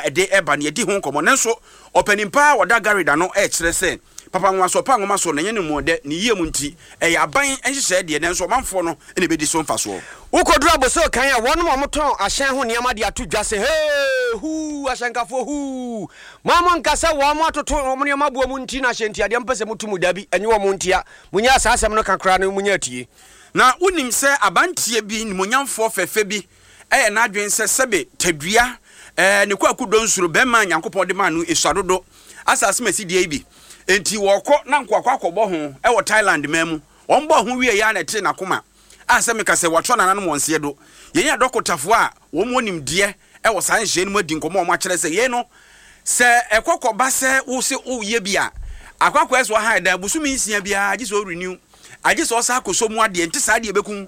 ɛde reba no, yɛadi ho nkɔmmɔ. Nanso, ɔpanin pa a ɔda Gary da no rekyerɛ sɛ, papa nwonwasoɔ pa nwoma so na ɛnyɛ ne mu dɛ, ne yie mu nti, ɛyɛ aban nhyehyɛeɛ deɛ, nanso ɔmanfoɔ no na ɛbɛdi so mfasoɔ. Wokoduru Abossey kan a, wɔnom a wɔtɔn ahyɛn ho nneɛma de ato dwa sɛ, Hee! Huu! Ahyɛnkafoɔ, huu! Mo a monka sɛ wɔn atoto wɔn nneɛma boɔ mu nti na ahyɛntiadeɛ mopɛ sɛ moto mu, dabi, ɛnyɛ wɔn ntia. Monyaa saa asɛm no ka koraa no, monya atie. Na wonim sɛ abanteɛ bi, nimonyamfoɔ fɛfɛ bi, ɛyɛ n'adwene sɛ sɛbe tadua ɛɛ ne kwaku donsuro bɛrima a Nyankopɔn de maa no esua dodo asase ma esi deɛ yi bi. Enti wɔkɔ na nkoakɔ akɔbɔ ho ɛwɔ Thailand man mu. Wɔn bɔɔ ho wieɛ ara na ɛtee n'akoma a sɛ meka sɛ wɔatwerɛ nananom wɔn nseɛ do. Yɛn adɔkotafoɔ a wɔn wɔ nimdeɛ ɛwɔ saa nhyehyɛɛ no mu adi nkɔmmɔ a wɔn akyerɛ sɛ yei no sɛ ɛkɔ kɔba sɛ wo se wo yɛ bi a akɔ akɔyɛ sɛ wahan dan bosome nsia biara gye sɛ ɔ renew agye sɛ ɔsan akɔsɔ mu adeɛ nte saa deɛ ɛbɛku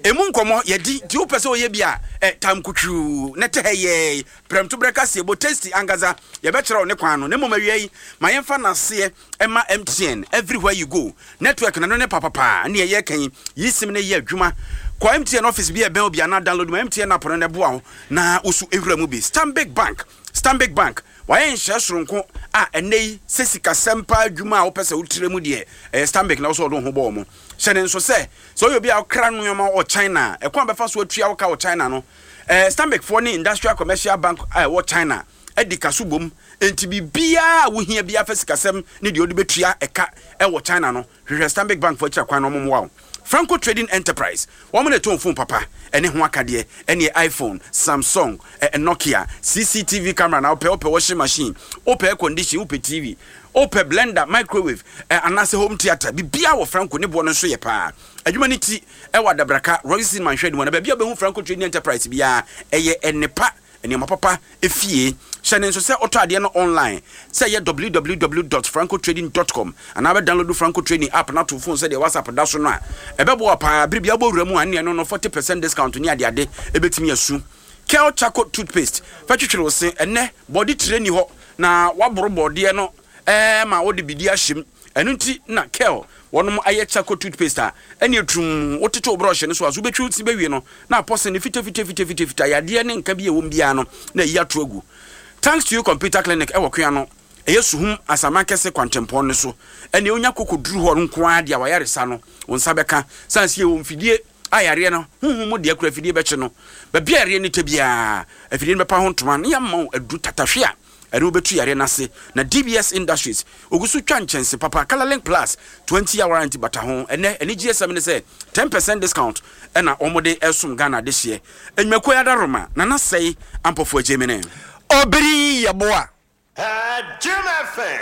Emu nkɔmmɔ, yɛdi, nti wopɛ sɛ woyɛ bi a, ɛ, tam kutwuu, na ɛtɛ hɛ yɛɛi, prɛmtoberɛ kaseɛbɔ, tasty ankasa, yɛbɛkyerɛ wo ne kwan no. Na mmom awia yi, ma yɛmfa n'aseɛ mma MTN, everywhere you go, network no, ɛno ne papapaa, ɛne yɛreka yi, yi sim no yɛ adwuma. Kɔ MTN office bi a ɛbɛn wo bi anaa download ma MTN app no na ɛboa wo na wo so wura mu bi. Stanbic Bank, Stanbic Bank, wɔayɛ nhyehyɛe soronko a ɛnnɛ yi sɛ sikasɛm paa adwuma a wopɛ sɛ wotrɛ mu deɛ, ɛyɛ Stanbic na wo sɛ wɔde wo ho bɔ wɔn. Hyɛ no nso sɛ, sɛ woyɛ obi a wokra nneɛma wɔ China a, ɛkwan a wobɛfa so atua wo ka wɔ China no, eh, Stanbic-foɔ ne Industrial Commercial Bank a ɛwɔ China adi ka so bom. Enti biribiara a wohia biara fa sikasɛm ne deɛ wode bɛtua ɛka wɔ China no, hwehwɛ Stanbic Bank-foɔ akyiri akwan na wɔmmoa wo. Franco Trading Enterprise, wɔn na ɛtɔn fon papa ne ho akadeɛ, ɛneɛ iPhone, Samsung, eh, Nokia, CCTV camera na wopɛ, wopɛ washing machine, wopɛ air condition, wopɛ TV, Wopɛ blender, microwave, anaasɛ home theatre, biribiara wɔ Franco, ne boɔ no nso yɛ paa. Adwuma no ti wɔ Adabraka, Royal Cinema nhwɛanim hɔ, na baabi a wobɛhu Franco Trading Enterprise biara, ɛyɛ nnepa, nneɛma papa fie. Hyɛ no nso sɛ wotɔ adeɛ no online, sɛ ɛyɛ www dot francotrading dot com anaa wobɛ download Franco Trading app no ato wo phone sɛdeɛ WhatsApp da so no a, ɛbɛboa wo paa. Bere biara wobɔ wura mu a, ɛnneɛ ɛno no 40 percent discount ne adeade bɛtumi asu. Kel Charcoal Toothpaste, fa twitwiri wo se. Ɛnnɛ, bɔde tire nni hɔ na woaboro bɔdeɛ no ma wode biribi ahyɛ mu. Ɛno nti na Kel wɔnom ayɛ charcoal toothpaste a ɛne tumm wotete wo brɔhye no so a, so wobɛtwi wo se bɛwie no na apɔ se no fitafitafitafita, yadeɛ ne nka bi a ɛwɔ mu biara no na ayi ato agu. Thanks to you Computer Clinic ɛwɔ Koano, ɛyɛ Suhum Asaman Kɛse kwantempɔn no so. Ɛneɛ wonya koko duru hɔ nko ara deɛ a w'ayaresa no wo nsa bɛka. Sane sɛ yɛwɔ mfidie a yareɛ no honhom mu deɛ kura afidie bɛkye no. Baabi a yareɛ no tɛ biara, afidie no bɛpa ho ntoma na yɛama wo aduru tatahwe a ɛne wo bɛtu yareɛ no ase. Na DBS Industries, ɔgu so twa nkyɛnse papa, Colorlink Plus, 20 year warranty bata ho. Ɛnnɛ, anigyesɛm ne sɛ, 10 percent discount na wɔde resom Ghana adehyeɛ. Nnwumakuo yi adaworoma, Nana Sɛe Ampɔfoɔ Agyemene. Obiri Yeboah.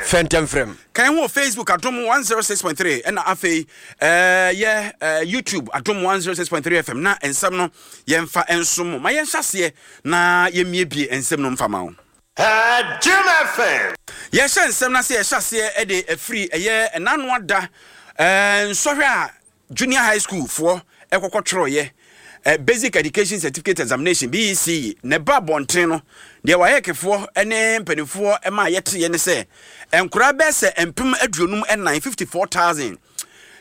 Fɛntɛmfrɛm. Ka yɛn ho wɔ Facebook Adom 106.3 ɛna afei eh, yɛ eh, YouTube Adom 106.3 FM na nsɛm no yɛmfa nsom mo. Ma yɛnhyɛ aseɛ na yɛmmiebie nsɛm no mfa ma wo. Jim FM. Yɛhyɛ nsɛm no ase yɛhyɛ aseɛ de afiri ɛyɛ ɛnano ada eh, nsɔhwɛ a Junior High School foɔ kɔkɔ twerɛeɛ Basic Education Certificate Examination, BECE, na ɛba abɔnten no, deɛ WAEC foɔ ne mpanimfoɔ maa yɛteeɛ ne sɛ, nkoraa bɛyɛ sɛ 54,000, 54,000,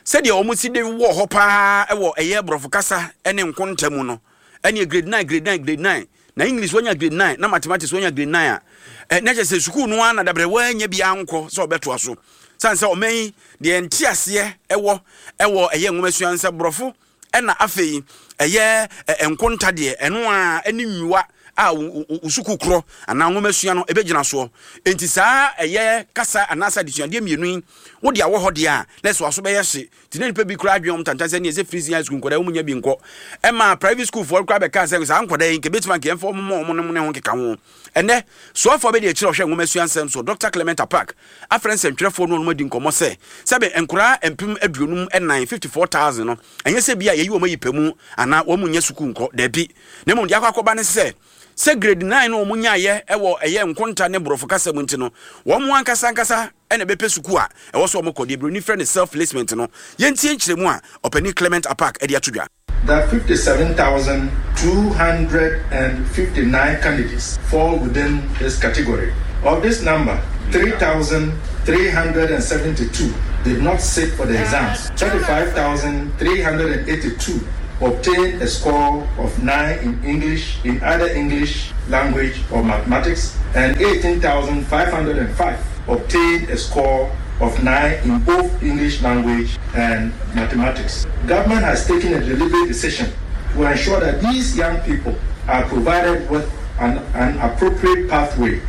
sɛdeɛ wɔn si de wɔ hɔ paa wɔ ɛyɛ borɔfo kasa ne nkonta mu no, ɛneɛ grade 9, grade 9, grade 9, na English wanya grade 9, na mathematics wanya grade 9 a, eh, na kyerɛ sɛ sukuu no ara na dabrɛ wanya bi ankɔ sɛ ɔbɛtoa so. Sane sɛ ɔman yi deɛ nteaseɛ ɛwɔ ɛwɔ ɛyɛ nwomasua nsɛ borɔfo ɛna afei ɛyɛ nkonta deɛ ɛno a ɛne nwiwa a wo sukuu korɔ anaa nwomasua no ɛbɛgyina soɔ. Enti saa ɛyɛ kasa anaasɛ adesuadeɛ mmienu yi wode awɔ hɔ deɛ a na ɛsɛ waso bɛyɛ hye. Nti na nnipa bi koraa adwene wɔn tantan sɛ neɛ sɛ free senior high school nkwadaa wɔn nya bi nkɔ. Ɛma private school foɔ koraa bɛkaa sɛ saa nkwadaa yi nka ɛbɛtumi anka yɛmfa wɔn mmɔ wɔn nom ne ho nkeka ho. Ɛnnɛ, soafoɔ abɛdi akyire a ɔhwɛ nwomasua nsɛm so, Dɔkta Clement Apaak, afrɛ nsɛntwerɛfoɔ ne wɔnom adi nkɔmmɔ sɛ, sɛbe nkoraa 54,000, 54,000, no, ɛnyɛ sɛ bi a yɛyi wɔn ayi pɛ mu anaa wɔn nnya sukuu nkɔ, dabi, na mmom deɛ akɔ akɔba ne sɛ, sɛ grade 9 no wɔn nyaeɛ wɔ ɛyɛ nkonta ne borɔfo kasa mu nti no, wɔn ankasa ankasa na ɛbɛpɛ sukuu a ɛwɔ sɛ wɔkɔ, deɛ buroni frɛ no self-placement no. Yɛntie nkyerɛmu a Ɔpanin Clement Apaak de ato dwa. That 57,259 candidates fall within this category. Of this number, 3,372 did not sit for the exams, 35,382 obtained a score of 9 in English, in either English language or mathematics, and 18,505 obtained a score of 9 in both English language and mathematics. Government has taken a deliberate decision to ensure that these young people are provided with an, an appropriate pathway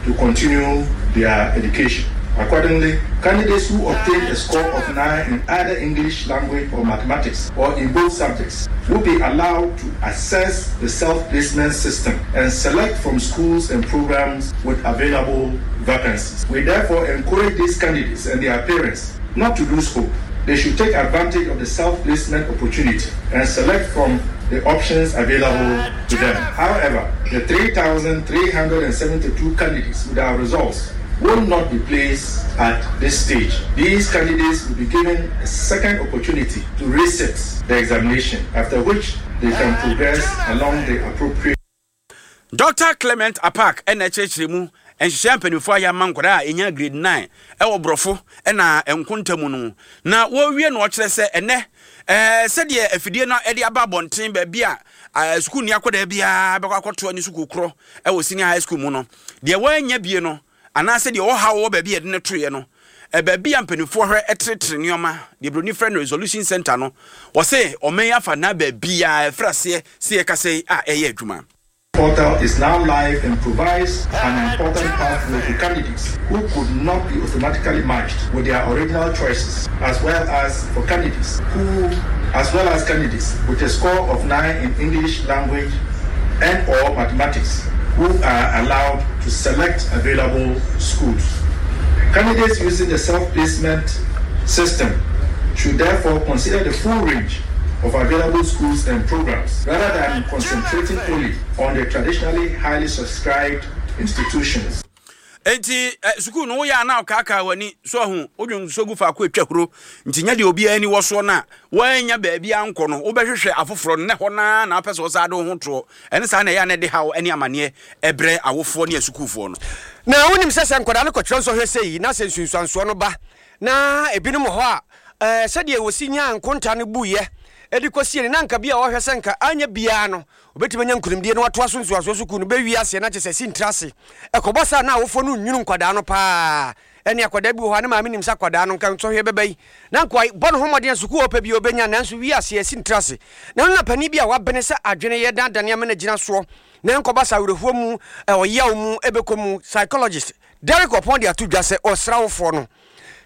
to continue their education. Accordingly, candidates who obtain a score of 9 in either English language or mathematics or in both subjects will be allowed to access the self-placement system and select from schools and programs with available vacancies. We therefore encourage these candidates and their parents not to lose hope. They should take advantage of the self-placement opportunity and select from the options available to them. However, the 3,372 candidates with our results will not be placed at this stage. These candidates will be given a second opportunity to resit the examination, after which they can progress along the appropriate. Dɔkta Clement Apaak na ɛkyerɛkyerɛ mu nhyehyɛe a mpanyimfo ayɛ ama nkwadaa a enya grade 9 wɔ Borɔfo na nkonta mu no. Na wɔrewie no ɔkyerɛ sɛ ɛnnɛ sɛdeɛ afidie no de aba abɔnten baabi a sukuuni akwadaa biara bɛkɔ akɔtoa ne sukuu korɔ wɔ senior high school mu no, deɛ wannya bie no anaasɛ deɛ ɔhaw wɔ baabi a yɛde no toeɛ no, baabi a mpanimfoɔ hwɛ teretere nneɛma, deɛ buroni frɛ no resolution center no, wɔse ɔman yi afa na baabiara ɛfiri aseɛ sɛ yɛkasa yi a ɛyɛ adwuma. Portal is now live and provides an important pathway to candidates who could not be automatically matched with their original choices, as well as for candidates who, as well as candidates with a score of 9 in English language and or mathematics who are allowed to select available schools. Candidates using the self-placement system should therefore consider the full range of available schools and programs rather than concentrating only on the traditionally highly subscribed institutions. Enti sukuu no woyɛ a na ɔkaakaa w'ani so ahu wodwen nsuo gu faako atwa huro nti nyɛ deɛ obiara ani wɔ soɔ no a woannya baabi ankɔ no wobɛhwehwɛ afoforɔ no na ɛhɔ no ara na wopɛ sɛ wosan de wo ho toɔ ɛne saa na ɛyɛ a na ɛde haw ne amaneɛ ɛbrɛ awofoɔ ne asukuufoɔ no. Na wonim sɛ sɛ nkwadaa no kɔtwerɛ nsɔhwɛ sei na sɛ nsunsuansoɔ no ba na ebinom wɔ hɔ a ɛɛ sɛdeɛ wɔsi nyaa nkonta no buiɛ de kɔsie no na anka bi a wɔhwɛ sɛ nka anyɛ biara no Obetumi anya nkunimdie na watoa so nsuansoɔ sukuu no bɛwie aseɛ na kyerɛ sɛ sintire ase. Ɛkɔbɔ saa na awofoɔ no nnwunu nkwadaa no pa ara. Ɛne akwadaa bi wɔ hɔ a ne maame nim sɛ akwadaa no nka nsɔhwɛ bɛba yi na nka wabɔ ne ho mmɔden a sukuu a ɔpɛ biara ɔbɛnya nanso wie aseɛ sintire ase. Na ɛno na panin bi a wabene sɛ adwene yɛ dan dane amena gyina soɔ na ɛnkɔba saa awerɛhoɔ mu, ɔyaw mu ɛbɛkɔ mu. Psychologist Derrick Oppong de ato dwa sɛ ɔsrɛ awofoɔ no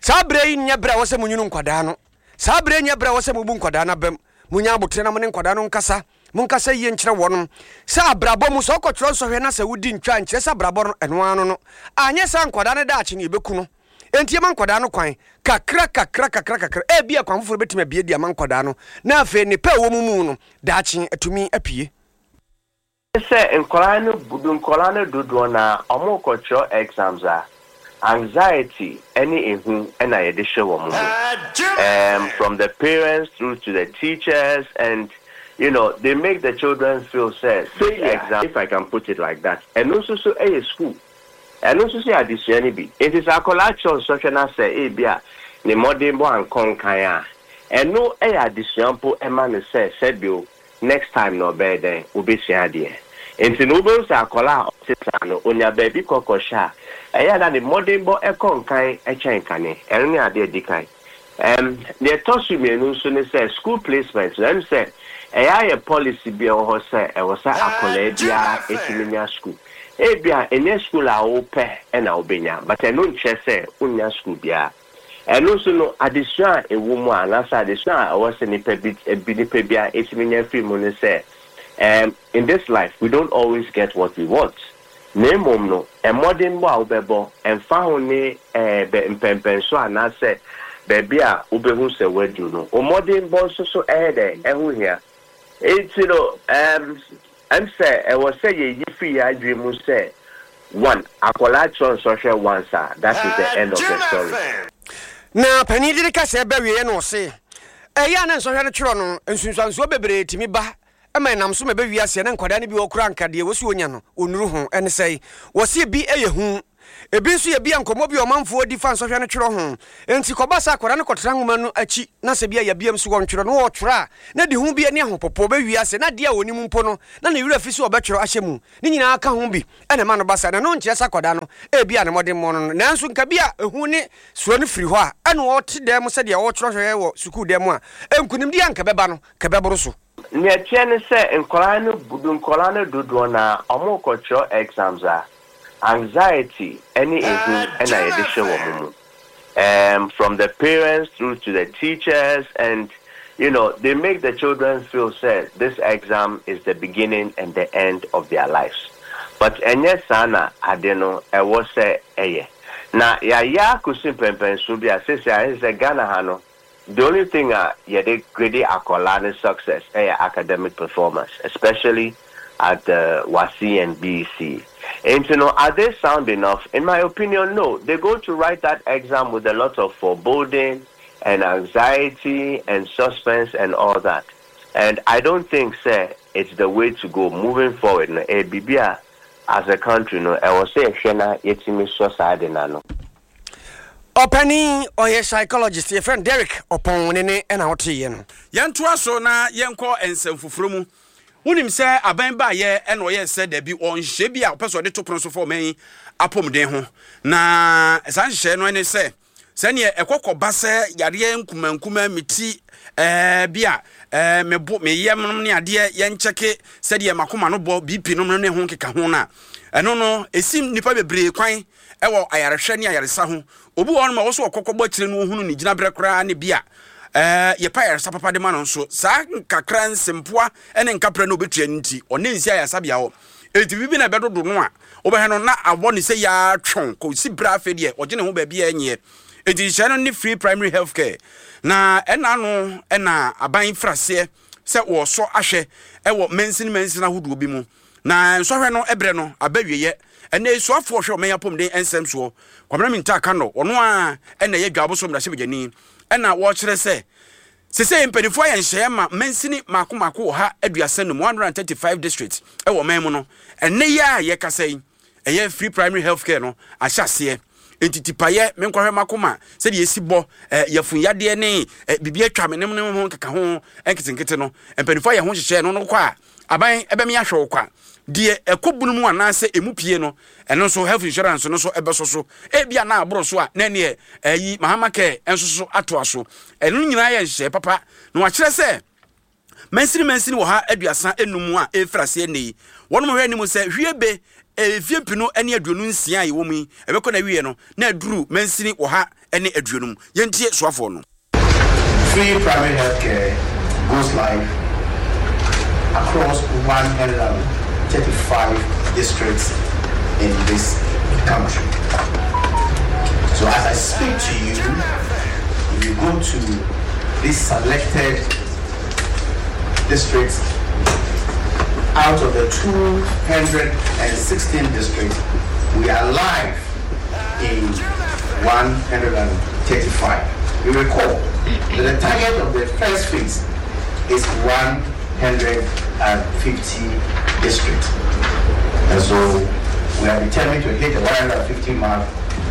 saa berɛ yi nyɛ berɛ a ɛwɔ sɛ monwunu nkwadaa no. Saa berɛ yi nyɛ berɛ a ɛwɔ sɛ mobu nkwadaa no abam. Monnya aboterɛ na mo ne nkwadaa no nkasa. Monkasa yie nkyerɛ wɔnom. Sɛ abrabɔ mu, sɛ wokɔtwerɛ nsɔhwɛ na sɛ wodi ntwa a, nkyerɛ sɛ abrabɔ no, ɛno ara no no. Anyɛ saa a, nkwadaa no daakye no, yɛbɛku no. Enti yɛma nkwadaa no kwan, kakra kakra kakra kakra. Ebia kwan foforɔ bɛtumi abue de ama nkwadaa no, na afei nnepa a ɛwɔ mo mu no, daakye atumi apue. Sɛ nkwadaa no nkwadaa no dodoɔ no ara wɔrekɔtwerɛ exams a, anxiety ne ehu na yɛde hyɛ wɔn mu. Um, from the parents through to the teachers and you know, they make the children feel sɛ this exam, if I can put it like that, ɛno nso so yɛ school. Ɛno nso so yɛ adesua no bi. Enti sɛ akwadaa kyerɛw nsɔhwɛ na sɛ ebia ne mmɔdenbɔ ankɔ nkan a, ɛno yɛ adesua mpo ma no sɛ sɛbio next time no ɔbɛyɛ dɛn? Obesua adeɛ. Enti no wobɛhu sɛ akwadaa a ɔte saa no, onya baabi kɔ kɔhyɛ a, ɛyɛ a na ne mmɔdenbɔ kɔ nkan kyɛn kane. Ɛno ne adeɛ a ɛdi kan. Ɛm, deɛ ɛtɔ so mmienu nso ne sɛ, school placement no, ɛm sɛ ɛyɛ ayɛ policy bi a ɛwɔ hɔ sɛ ɛwɔ sɛ akwadaa biara tumi nya school. Ebia ɛnyɛ school a wopɛ na wobɛnya, but ɛno nkyerɛ sɛ wonnya school biara. Ɛno nso no, adesua a ɛwɔ mu a, anaasɛ adesua a ɛwɔ sɛ nipa bi, bi, nipa biara tumi nya firi mu ne sɛ, ɛm, in this life, we don't always get what we want. Na mmom no, mmɔdenbɔ a wobɛbɔ, ɛmfa ho ne bɛ mpɛnpɛnso anaasɛ baabi a wobɛhu sɛ woaduru no, wo mmɔdenbɔ nso so ɛyɛ dɛn? Ɛho hia. Enti no, ɛm sɛ ɛwɔ sɛ yɛyi firi yɛn adwene mu sɛ, one, akwadaa kyerɛ nsɔhwɛ once a, that is the end of the story. Na panin de ne kasa reba awieeɛ no ɔse, Ɛyɛ a na nsɔhwɛ no twerɛ no, nsunsuansoɔ bebree tumi ba ma ɛnam so ma ɛba wiase a na nkwadaa no bi wɔ hɔ koraa anka deɛ wɔsi wɔnya no wɔnnuru ho. Ɛne sɛe? Wɔse ebi yɛ hu. Ebi nso yɛ bi a nkɔmmɔ bi a ɔmanfoɔ di fa nsɔhwɛ no twerɛ ho. Enti kɔba sɛ akwadaa no kɔtra nwoma no akyi na sɛ bi a yɛabia mu so wɔntwerɛ no, ɔretwerɛ a, na de hu bi ne ahopopoɔ bɛwie ase na adeɛ a ɔnim mpo no, na ne werɛ afi sɛ ɔbɛtwerɛ ahyɛ mu. Ne nyinaa ka ho bi na ɛma no ba saa. Na ɛno nkyerɛ sɛ akwadaa no ebia ne mmɔdemmɔ no no, nanso nka bi a ehu ne suro no firi hɔ a, ɛna ɔte dan mu sɛdeɛ ɔretwerɛ hwɛ wɔ sukuu dan mu a, nkunimdie a anka ɛbɛba no, nka ɛbɛboro so. Nea ɛteɛ ne sɛ nkwadaa no nkwadaa no dodoɔ no ara wɔrekɔtwerɛ exams a, anxiety ne ehu na yɛde hyɛ wɔn mu. Um, from the parents through to the teachers and you know, they make the children feel sɛ this exam is the beginning and the end of their lives. But ɛnyɛ saa na ade no ɛwɔ sɛ ɛyɛ. Na yɛayɛ akɔsi mpɛnpɛnsoɔ bi a seesei ayɛ sɛ Ghana ha no, The only thing a yɛde grade akwadaa ne success yɛ academic performance especially at the WASSCE and BEC. Nti no are they sound enough? In my opinion no, they go to write that exam with a lot of foreboding and anxiety and suspense and all that and I don't think sɛ it's the way to go moving forward no ɛyɛ biribi a as a country no ɛwɔ sɛ yɛhwɛ na yɛtumi sɔ saa ade no ano. Ɔpanin, ɔyɛ psychologist, yɛfrɛ no Derek Ɔpɔn, ne ne na woteeɛ no. Yɛntoa so na yɛnkɔ nsɛm foforɔ mu. Wonim sɛ aban baeɛ na ɔyɛɛ sɛ dabi wɔ nhyehyɛeɛ bi a ɔpɛ sɛ ɔde to pono so fa ɔman yi apɔmuden ho. Na saa nhyehyɛeɛ no ne sɛ sɛdeɛ ɛkɔ kɔba sɛ yareɛ nkumankumaa me ti ɛɛ bi a ɛɛ me bo me yam nom ne adeɛ yɛnkyɛke sɛdeɛ makoma no bɔ BP nom ne ho nkeka ho no a ɛno no ɛsi nnipa bebree kwan wɔ ayarehwɛ ne ayaresa ho. Obi wɔ hɔnom a ɔwɔ sɛ ɔkɔ kɔbɔ akyire no ɔhunu ne gyinaberɛ koraa ne bi a ɛɛ yɛpɛ ayaresa papa de ma no nso. Saa nkakra nsempoa ne nkaprɛ no ɔbɛtua no nti, ɔne nsi ayaresabea hɔ. Enti biribi na ɛbɛdodo no a, wobɛhwɛ no na awɔ ne sɛ yaa twɔn kɔsi berɛ afei deɛ ɔgye ne ho baabi a ɛnyeɛ. Enti nhyehyɛeɛ no ne free primary health care. Na ɛna ano na aban firi aseɛ sɛ wɔresɔ ahwɛ wɔ mansini mansini ahodoɔ bi mu. Na nsɔhwɛ no berɛ no aba awieɛ. Ɛnnɛ yi soafoɔ ɔhwɛ ɔman yi apɔmuden nsɛm soɔ, Kwabena Mintah Akandoh, ɔno ara na ɛyɛ Dwaboso mmarahyɛbadwani, ɛna wɔrekyerɛ sɛ sesei mpanimfoɔ ayɛ nhyehyɛeɛ ma mansini mmaako mmaako 135, 135 districts, wɔ ɔman mu no. Ɛnnɛ yi ara a yɛrekasa yi, ɛyɛ free primary health care no ahyɛ aseɛ. Enti tipaeɛ, menkɔhwɛ m'akoma sɛdeɛ ɛsi bɔ, eh, yafunyadeɛ ne eh, biribi atwa me ne ne ho nkeka ho nketenkete no, mpanimfoɔ ayɛ ho nhyehyɛeɛ no no kɔ a, aban ɛbɛme ahwɛ wo kwa. Deɛ ɛkɔ bunu mu anaasɛ ɛmu pie no, ɛno nso health insurance no nso ɛbɛsɔ so. Ebia na aboro so a, na ɛneɛ ɛyi Mahama Care nso so atoa so. Ɛno nyinaa yɛ nhyehyɛeɛ papa na wakyerɛ sɛ Mansini mansini 135 a ɛrefiri aseɛ nnɛ yi, wɔnom hwɛ anim sɛ hwie be mfie mpenu ne 26 a yɛwɔ mu yi, ɛbɛkɔ n'awieɛ no na aduru mansini 150. Yɛntie soafoɔ no. Free primary health care goes live across 135 districts in this country. So as I speak to you, if you go to these selected districts, out of the 216 districts, we are live in 135. You recall that the target of the first phase is 150 districts. And so we are determined to hit the 150 mark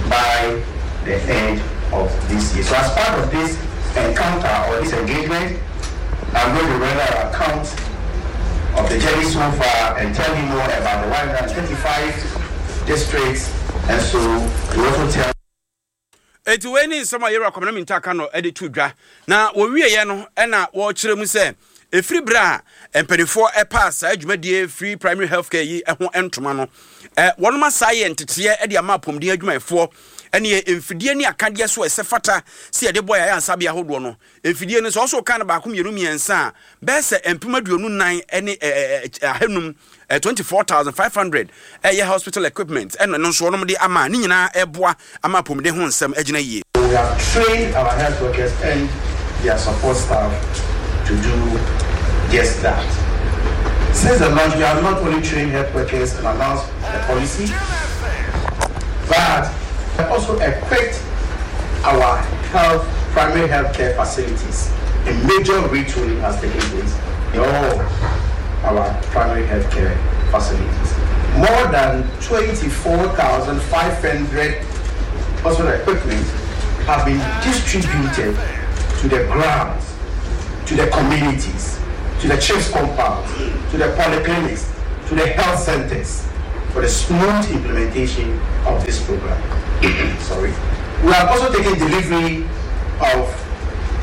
by the end of this year. So as part of this encounter or this engagement, I'm going to render an account of the journey so far and tell you more about the 135 districts. And so we also tell Enti wei ne nsɛm a Yewura Kwabena Mintah Akanor de too dwa. Na wɔwieeɛ no na wɔrekyerɛ mu sɛ ɛfiri berɛ a mpanimfoɔ paa saa dwumadie Free Primary Health Care yi ho ntoma no, wɔnom asa ayɛ nteteɛ de ama apɔmuden adwumayɛfoɔ ne mfidie ne akadeɛ so a ɛsɛ fata sɛ yɛde bɔ yɛn ayaresabea ahodoɔ no. Mfidie no, sɛ ɔso ka no baako mmienu mmiɛnsa a, bɛyɛ sɛ 24,500, 24,500 ɛyɛ hospital equipment ɛna ɛno nso wɔnom de ama a ne nyinaa ɛboa ama apɔmuden ho nsɛm agyina yie. We have trained our health workers and their support staff to do just that. Since the launch, we have not only trained health workers and announced the policy, but also equipped our health primary health care facilities. A major retooling has taken place in all our primary health care facilities. More than 24,500 hospital equipment have been distributed to the grounds, to the communities, to the chiefs compounds, to the polyclinics, to the health centers for the smooth implementation of this program. Sorry. We have also taken delivery of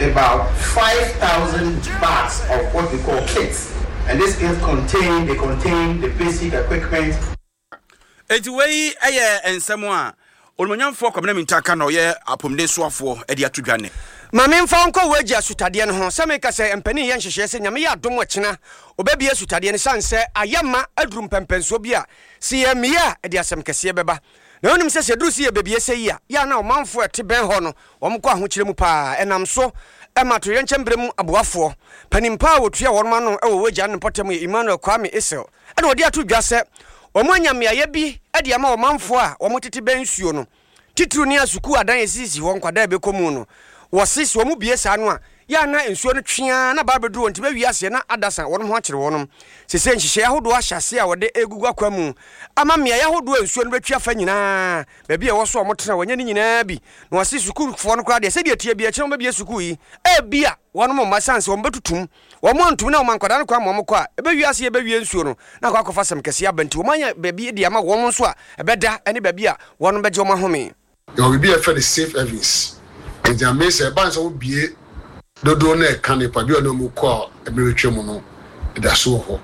about 5,000 bags of what we call kits. And this kit contain, they contain the basic equipment. Enti wei yɛ nsɛm a Onimuonyamfoɔ Kwabena Mintah Akanor a ɔyɛ apɔmuden soafoɔ de ato dwa nnɛ. Ma memfa wo nkɔ w'agya asutadeɛ no ho, sɛ meka sɛ mpanin yɛ nhyehyɛeɛ sɛ Nyame yɛ adom ɔkyena ɔbɛbue asutadeɛ no, sane sɛ ayɛ ma aduru mpɛnpɛnsoɔ bi a sɛ yɛammue a ɛde asɛm kɛseɛ bɛba. Na wonim sɛ sɛ ɛduru sɛ yɛbɛbue sɛ yi a, yɛ a na ɔmanfoɔ a ɛte bɛn hɔ no wɔn kɔ ahokyerɛ mu paa. Ɛnam so ma atoyerɛnkyɛm berɛ mu aboafoɔ panin pa a wɔtua wɔn ano wɔ w'agya no mpɔtam yɛ Emmanuel Kwame Essel na ɔde ato dwa sɛ wɔanya mmeaeɛ bi de ama ɔmanfoɔ a wɔtete bɛn nsuo no, titiriw ne asukuu adan a esisisi hɔ nkwadaa a ɛbɛkɔ mu no. Wɔse sɛ wɔbue saa no a, yɛ a na nsuo no twe ara na ba abɛduru wɔn nti bɛwie aseɛ na adasa wɔn ho akyere wɔnom. Seesei nhyehyɛeɛ ahodoɔ ahyɛ aseɛ a wɔde regugu akwan mu ama mmeaeɛ ahodoɔ a nsuo no bɛtwi afa nyinaa, baabi a ɛwɔ so a wɔtena wɔanya ne nyinaa bi. Na wɔse sukuufoɔ no koraa deɛ sɛdeɛ ɛteɛ biara akyire wɔbɛbue sukuu yi, ebia wɔnom mma ɛsiane sɛ wɔbɛtutum Wɔn antum na wɔma nkwadaa no kwan ma wɔkɔ a, ɛbɛwie ase yɛbɛwie nsuo no na akɔ akɔfa asɛm kɛseɛ aba nti wɔanya baabi de ama wɔn nso a ɛbɛda ne baabi a wɔn bɛgye wɔn ahome. Yɛwɔ biribi a yɛfrɛ no safe havens. Enti amee sɛ ɛba no sɛ wobue dodow no a ɛka nnipa bi a ɔne wɔn kɔ a mmere retwam no da so wɔ hɔ.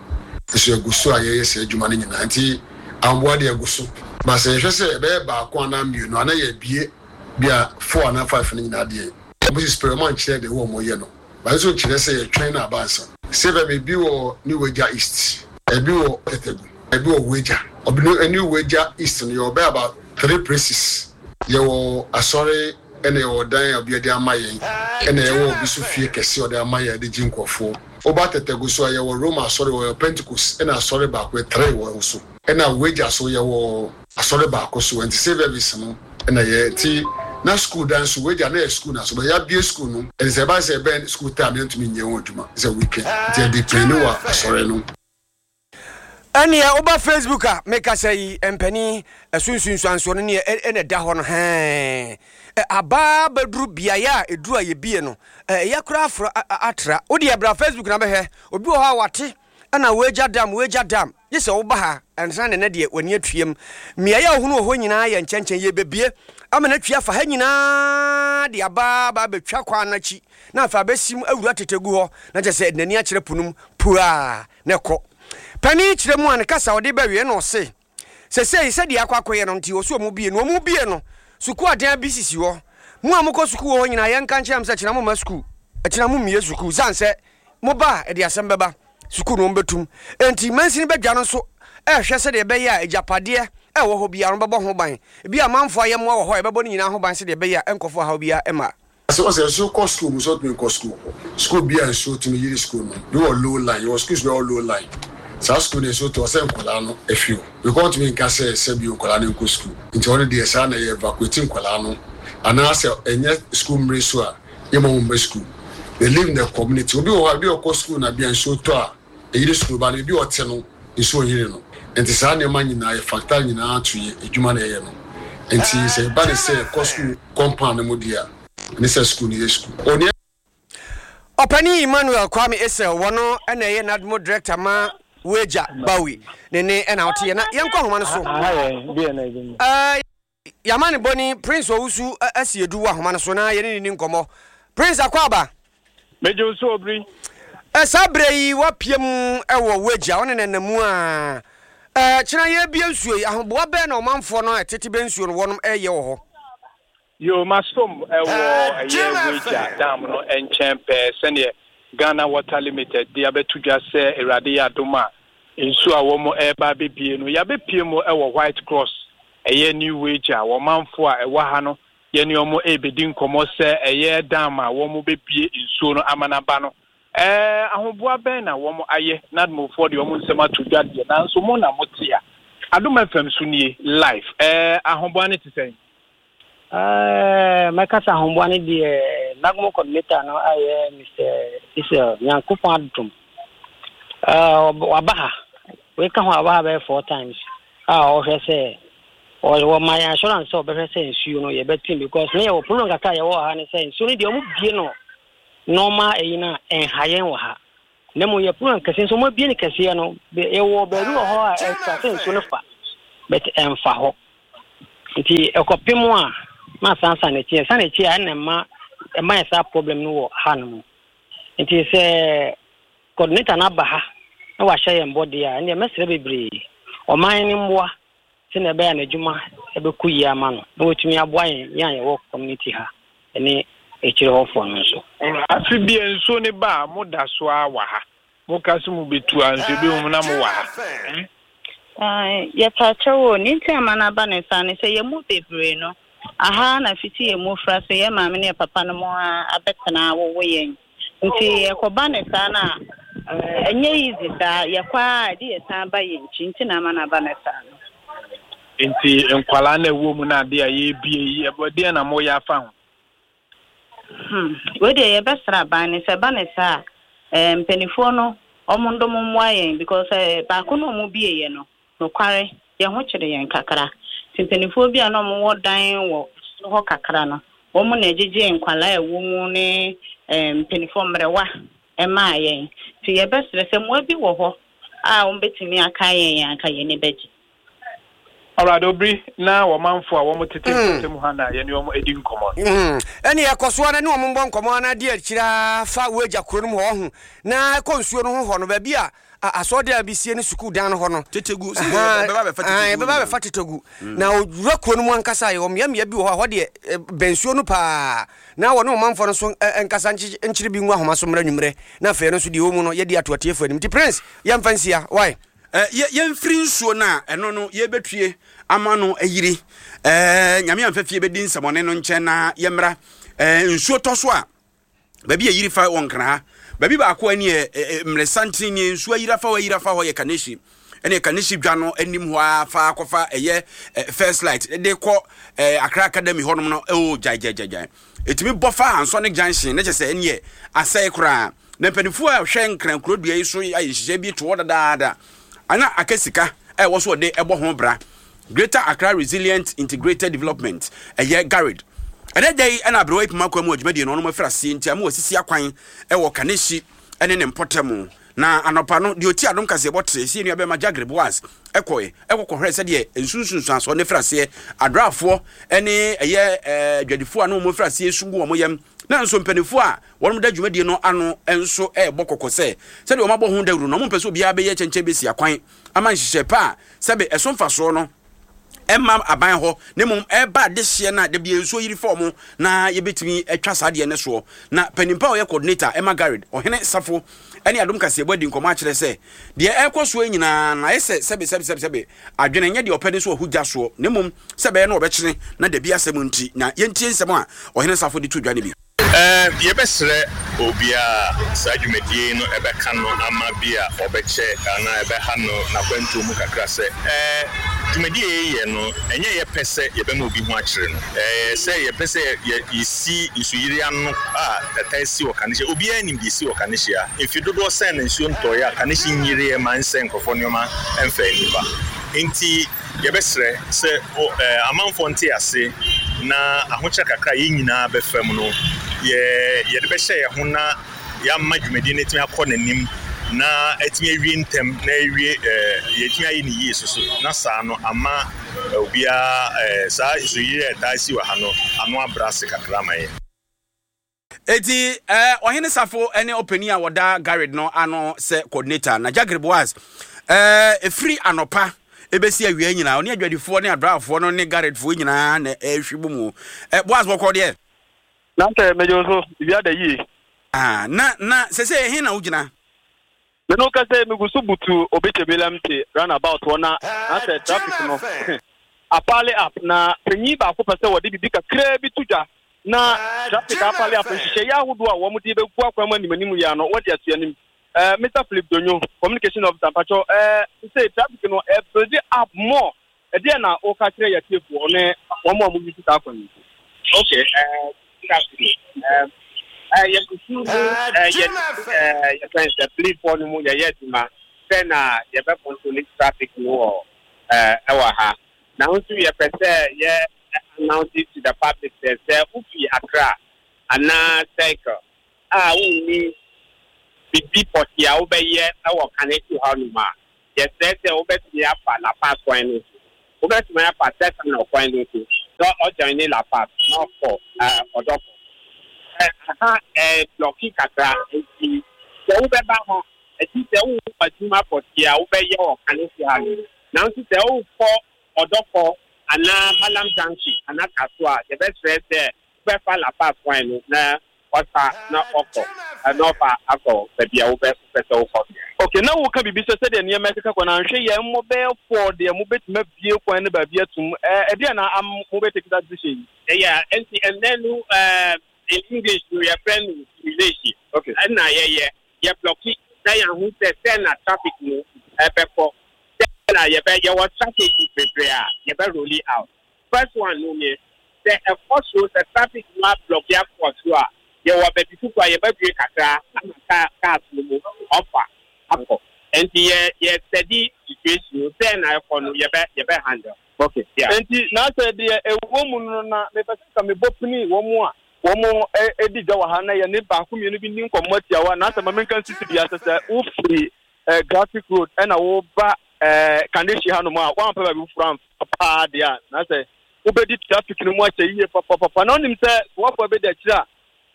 Nso yɛgu so a yɛyɛ saa adwuma no nyinaa. Enti ahoboa de agu so. But sɛ yɛhwɛ sɛ ɛbɛyɛ baako anaa mmienu a na yɛabue bi a four anaa five no nyinaa deɛ, wɔn si spare wɔn ankyerɛ deɛ ɛwɔ wɔn yɛ no. But nso nkyerɛ sɛ yɛtwɛn no aba ansa. Sɛ bɛ ebi wɔ New Weija East, ebi wɔ Tetegu, ebi wɔ Weija. Ɔbi no New Weija East no yɛwɔ bɛyɛ about three places. Yɛwɔ asɔre ɛna yɛwɔ dan a obi de ama yɛn ɛna yɛwɔ obi so fie kɛse a ɔde ama yɛn de gye nkurɔfoɔ. Woba Tetegu so a yɛwɔ Roma asɔre wɔ Pentecost ɛna asɔre baako yɛ three wɔ hɔ so. Ɛna Weija so yɛwɔ Asɔre baako so nti service no na yɛ nti na school dan so wei deɛ na yɛ school na so bɛ yabie school no ɛnti sɛ ɛba sɛ ɛbɛn school time yɛntumi nyɛ ho adwuma sɛ weekend nti yɛ depend wɔ asɔre no. Ɛneɛ woba Facebook a mekasa yi mpanin ɛso nsunsuansoɔ no neɛ ɛna ɛda hɔ no hɛɛ aba bɛduru beaeɛ a ɛduru a yɛbie no ɛyɛ koraa afra atra wodeɛ bra Facebook na bɛhwɛ obi wɔ hɔ a wate Ɛna woagya dam, woagya dam, gye sɛ woba ha ansa na ɛnɛ deɛ w'ani atuam. Mmeaeɛ a wohunu wɔ hɔ nyinaa yɛ nkyɛnkyɛn, yɛrebɛbue ama no atwi afa ha nyinaa de aba aba abɛtwa kwan no akyi na afei abɛsim awura Tetegu hɔ na kyerɛ sɛ ɛde n'ani akyerɛ po no mu puaa na ɛkɔ. Panin kyerɛ mu a ne kasa a ɔde bɛwieɛ na ɔse, Sesei sɛdeɛ akɔ akɔyɛ no nti ɔse wɔn bue no, wɔn bue no, sukuu adan bi sisi hɔ. Mo a mokɔ sukuu wɔ hɔ nyinaa yɛnka nkyerɛ mo sɛ kyena momma sukuu, kyena mommue sukuu sane sɛ moba a ɛde asɛm bɛba, sukuu no wɔbɛtum. Enti mansini badwa no nso rehwɛ sɛdeɛ ɛbɛyɛ a agyapadeɛ a ɛwɔ hɔ biara no bɛbɔ ho ban. Ebia amanfoɔ ayɛmmoa wɔ hɔ a yɛbɛbɔ ne nyinaa ho ban sɛdeɛ ɛbɛyɛ a ɛnkɔfa ɔhaw biara mma. Sɛ ɔsɛ nsuo kɔ school mu sɛ ɔtumi nkɔ school hɔ. School bi a nsuo tumi yiri school no bi wɔ low line yɛwɔ schools bi a ɛwɔ low line saa school no nsuo tɔ ɔsɛ nkwadaa no ɛfi hɔ because ɔntumi nka sɛ sɛ bio nkwadaa no nkɔ school nti ɔno deɛ saa na yɛ evacuate nkwadaa no anaa sɛ ɛnyɛ school mmere so a yɛ ma wɔn mma school they live in the community obi wɔ hɔ a ebi ɔkɔ school na bia nsuo tɔ a ɛyiri school ba no ebi ɔte no nsuo nyiri no nti saa nneɛma nyinaa yɛ factor nyinaa to yɛ adwuma na yɛyɛ no nti sɛ ɛba ne sɛ kɔ school compound no mu deɛ a ɛne sɛ school no yɛ school. Onua. Ɔpanin Emmanuel Kwame Essel, wɔno na ɛyɛ NADMO Director ma Weija Bawi ne ne na woteɛ na yɛnkɔ ahoma no so. Yɛama ne bɔni Prince Owusu Asiedu wɔ ahoma no so na yɛne no ni nkɔmmɔ. Prince Akwaaba. Megye wo so Obiri. Saa berɛ yi woapue mu wɔ w'agya wo ne no nna mu a, kyena yɛrebue nsuo yi, ahoboa bɛn na ɔmanfoɔ no a ɛtete bɛ nsuo no wɔnom reyɛ wɔ hɔ? Yoo, masom wɔ ɛyɛ Weija dam no nkyɛn pɛɛ sɛdeɛ Ghana Water Limited de abɛto dwa sɛ Awurade yɛ adom a nsuo a wɔn reba abɛbie no, yɛabɛpue mu wɔ White Cross, ɛyɛ New Weija, wɔn manfoɔ a ɛwɔ ha no yɛne wɔn rebɛdi nkɔmmɔ sɛ ɛyɛ dam a wɔn bɛbie nsuo no ama no aba no, ɛɛ ahoboa bɛn na wɔn ayɛ, NADMOfoɔ de wɔn nsɛm ato dwa deɛ, nanso mo na mote a. Adom FM so nie, live, ɛɛ ahoboa no te sɛn? Ɛɛ, mɛka sɛ ahoboa no deɛ NAGMO coordinator no ayɛ Mr. Israel Nyankopɔn adom. Ɛɛ, waba ha. Wei ka ho a waba ha bɛyɛ four times. a ɔhwɛ sɛ wɔma yɛn assurance sɛ ɔbɛhwɛ sɛ nsuo no yɛbɛtem because ne yɛwɔ problem kakra a yɛwɔ wɔ ha ne sɛ nsuo no deɛ ɔmo bie no normal ɛyi no a ɛnha yɛn wɔ ha na mmom yɛ problem kɛseɛ nso ɔmo abie no kɛseɛ no yɛwɔ baabi wɔ hɔ a ɛsɛ sɛ nsuo no fa but ɛnfa hɔ nti ɛkɔpem a na asan san n'akyi ɛsan n'akyi a ɛna ɛma ɛma yɛ saa problem no wɔ ha no mu nti sɛ Coordinator no aba ha na wahyɛ yɛn bɔ deɛ a, ɛnneɛ mɛsrɛ bebree. Ɔman no mmoa sɛdeɛ ɛbɛyɛ a n'adwuma bɛkɔ yie ama no na watumi aboa yɛn, yɛn a yɛwɔ community ha ne akyire hɔfoɔ no nso. Afe biara nsuo no ba a, moda so ara wɔ ha. Moka sɛ mobɛtu a, nso ɛbɛhu mo na mowɔ ha. Ae, yɛpa kyɛw o, nea nti a ama no aba ne saa ne sɛ yɛn mu bebree no, aha ara na fiti yɛn mmofraase yɛn maame ne yɛn papa nom ara abɛtena awowo yɛn. Nti ɛkɔba no saa no a, ɛnyɛ easy saa. Yɛkɔ ara a, ɛde yɛsan ba yɛn nkyi nti na ama no aba no saa no. Nti nkwadaa no a ɛwɔ mu no adeɛ a yɛrebie yi, ɛdeɛn na moyɛ afa ho? Hmm, wei deɛ yɛbɛsrɛ aban no sɛ ɛba no saa a, eh, mpanimfoɔ no wɔn ndom mmoa yɛn because eh, baako no a wɔn bieeɛ no, nokware, yɛn ho kyere yɛn kakra. Nti mpanimfoɔ bi a na wɔn wɔ dan wɔ soro hɔ kakra no, wɔn na ɛgyegyee nkwadaa a ɛwɔ mu ne eh, mpanimfoɔ mmerewa ɛmaa yɛn. Nti yɛbɛsrɛ sɛ mmoa bi wɔ hɔ a wɔbɛtumi akae yɛn a, anka yɛn ani bɛgye. Alright, Obiri, na wɔmanfo a wɔtete mpɔtam ha na yɛne wɔn adi nkɔmmɔ no. Ɛnneɛ kɔ so ara ne wɔn mmɔ nkɔmmɔ ara di akyire ara fa w'agya kuro no mu hɔ, ɔho, na kɔ nsuo no ho hɔ no, baabi a asɔredan bi sie ne sukuu dan no hɔ no. Tetegu, sɛ yɛbɛba abɛfa Tetegu. Yɛbɛba abɛfa Tetegu. Na owura kuro no mu ankasa, yɛwɔ mmeammea bi wɔ hɔ a, hɔ deɛ, bɛn nsuo no paa, na wɔne ɔmanfoɔ no nso nkasa nkyere bi ngu ahoma so mmra anwummerɛ, na afei ɛno nso deɛ ɛwɔ mu no, yɛadi ato atiefoɔ anim. Nti Prince, yɛmfa nsia, wai? Yɛ, yɛmfiri nsuo no a ɛno no yɛbɛtue ama no ayiri. Ɛɛ, Nyame amfa fie bɛdi nsɛmɔne no nkyɛn na yɛmmra. Ɛɛ, nsuo tɔ so a, baabi a yiri fa wɔ Nkran ha. Baabi baako a ɛneɛ mmerɛsanten nie, nsuo ayiri afa hɔ, ayiri afa hɔ yɛ Kaneshie. Ɛne Kaneshie dwa no anim hɔ ara fa kɔfa ɛyɛ First Light de kɔ Accra Academy hɔnom no, oh, gyae, gyae, gyae, gyae. Ɛtumi bɔ fa Ansonic Junction, ne kyɛ sɛ ɛneɛ asɛe koraa. Na mpanimfoɔ a wɔhwɛ Nkran kuro dua yi so ayɛ nhyehyɛe bi to hɔ dadaada a na aka sika a ɛwɔ so wɔde bɔ ho bra. Greater Accra Resilient Integrated Development, ɛyɛ GARID. Ɛnɛ da yi na aberewa yi poma kwan mu adwumadie no ɔnom afiri aseɛ nti ama wɔasisi akwan wɔ Kaneshie ne ne mpɔtam. Na anɔpa no, deɛ ɔti adom kaseɛbɔ te sɛ yɛn nuabɛrima Jagre Boaz kɔe kɔ kɔhwɛɛ sɛdeɛ nsunsunsuansoɔ no afiri aseɛ, adraafoɔ ne ɛyɛ adwadifoɔ a na wɔn afiri aseɛ su gu wɔn yam. Nanso mpanimfoɔ a Wɔda dwumadie no ano nso rebɔ kɔkɔ sɛ, sɛdeɛ wɔabɔ ho dawuro no, wɔmpɛ sɛ obiara bɛyɛ kyɛnkyɛn bɛsi akwan ama nhyehyɛe pa a sɛbe ɛso mfasoɔ no mma aban hɔ na mmom ɛreba adehyeɛ no a da biara nsuo yiri fa wɔn na yɛbɛtumi atwa saa adeɛ no soɔ. Na panin pa a ɔyɛ coordinator ɛma GARID, Ɔhene Safo ne Adom Kaseɛbɔ adi nkɔmmɔ akyerɛ sɛ deɛ ɛrekɔ soɔ yi nyinaa no ayɛ sɛ sɛbe sɛbe sɛbe sɛbe adwene nyɛ deɛ ɔpɛ ne so ɔho gya soɔ na mmom sɛ ɛbɛyɛ na ɔbɛkyene na dabi asɛm nti. Na yɛntie nsɛm a Ɔhene Safo de to dwa no bi. Yɛbɛsrɛ obiara a saa dwumadie yi no ɛbɛka no ama bi a ɔbɛkyɛ anaa ɛbɛha no n'akwantuo mu kakra sɛ, dwumadie a yɛyɛ no, ɛnyɛ yɛ pɛ sɛ yɛbɛma obi ho akyere no. Ɛyɛ sɛ yɛpɛ sɛ yɛsi nsuyiri ano a ɛtaa si wɔ Kaneshie. Obiara nim deɛ ɛsi wɔ Kaneshie ha. Mfe dodoɔ sɛn na nsuo ntɔeɛ a Kaneshie nyireɛ ma ɛnsɛe nkurɔfoɔ nneɛma ɛmfɛe nnipa. Enti Yɛbɛsrɛ sɛ amanfoɔ nte ase na ahokyerɛ kakra a yɛn nyinaa bɛfa mu no, yɛde bɛhyɛ yɛn ho na yɛama dwumadie no atumi akɔ n'anim na atumi awie ntɛm na awie yɛatumi ayɛ no yie soso na saa no ama obiara saa nsuyiri a ɛtaa si wɔ ha no ano abrɛ ase kakra ama yɛn. Enti Ɔhene Safo ne ɔpanin a wɔda Gared no ano sɛ coordinator, na Jagre Boaz, ɛfiri anɔpa ɛbɛsi awia nyinaa, ɔne adwadifoɔ ne adraafoɔ no ne Garedfoɔ nyinaa na ɛrehwe bɔ mu. Boaz bɔkɔɔ deɛ? Na sɛ megye wo so, biribi ada yie. Ah, na, na sɛsɛ ɛhe na wogyina? Me ne wo kasa yi, megu so butu Obetsebi Lamte roundabout hɔ na na sɛ traffic no apale up na panyin baako pɛ sɛ wɔde biribi kakraa bi to dwa na traffic apale up nhyehyɛeɛ ahodoɔ a wɔn de bɛgu akwan mu anim anim yi ano wɔde ato anim. Eh, Mr. Philip Donyo, communication officer, mpakyɛw, eh, sɛ traffic no ɛbuild up more Ɛdeɛn na woka kyerɛ yɛatiefoɔ ne wɔn a wɔyi saa kwan yi? Okay, good afternoon. Yɛsusu mu yɛ yɛfrɛ no sɛ policefoɔ no mu yɛyɛ adwuma sɛ na yɛbɛ control traffic no wɔ. ɛwɔ ha. Nanso yɛpɛ sɛ yɛ announce to the public sɛ sɛ wofi Accra anaa Circle a wonni biribi pɔtee a wobɛyɛ wɔ Kaneshie hɔnom a, yɛsrɛ sɛ wobɛtumi afa La Paz kwan no so. Wobɛtumi afa Terminal kwan no so na ɔjoine La Paz na ɔkɔ Ɔdɔkɔ. Aha blɔki kakra nti sɛ wobɛba ha ɛti sɛ wowɔ adwuma pɔtee a wobɛyɛ wɔ Kaneshie ha no. Nanso sɛ wokɔ Ɔdɔkɔ anaa Mallam Junction anaa Kasoa a, yɛbɛsrɛ sɛ wobɛfa La Paz kwan no na wasa na ɔkɔ na ɔfa akɔ baabi a wobɛ wopɛ sɛ wokɔ biara. Ok, na woka biribi sɛ sɛdeɛ nneɛma ɛkeka kɔ no anhwɛ yie a mmɔ bɛyɛ four deɛ mobɛtumi abue kwan no baabi atum. Ɛɛ ɛdeɛn na am mobɛ take saa decision yi? Yeah, nti ɛnnɛ no ɛɛ in English no yɛfrɛ no simulation. Ok. Ɛna yɛyɛ, yɛ blocki na yɛahu sɛ sɛn na traffic no ɛbɛkɔ, sɛn na yɛbɛ yɛwɔ strategies bebree a yɛbɛ rolli out. First one no nie, sɛ ɛkɔ soro, sɛ traffic no ablɔke akɔ soro a, yɛwɔ baabi foforɔ a yɛbɛbue kakra ama car cars no mu ɔfa akɔ. Nti yɛ yɛ study situation no sɛn na ɛkɔ no yɛbɛ yɛbɛ handle. Okay. Yeah. Nti na sɛ deɛ ɛwɔ mu no na mepɛ sɛ nka mebɔ pini wɔn a wɔn di dwa wɔ ha na yɛne baako mmienu bi nni nkɔmmɔ tiawa na sɛ ma menka nsisi bi asɛ sɛ wofiri eh, graphic road ɛna woba eh, Kaneshie hanom a woampɛ baabi foforɔ amfa paa deɛ a na sɛ wobɛdi traffic no mu akyɛ yie papapapa na wonim sɛ soafoɔ bɛdi akyire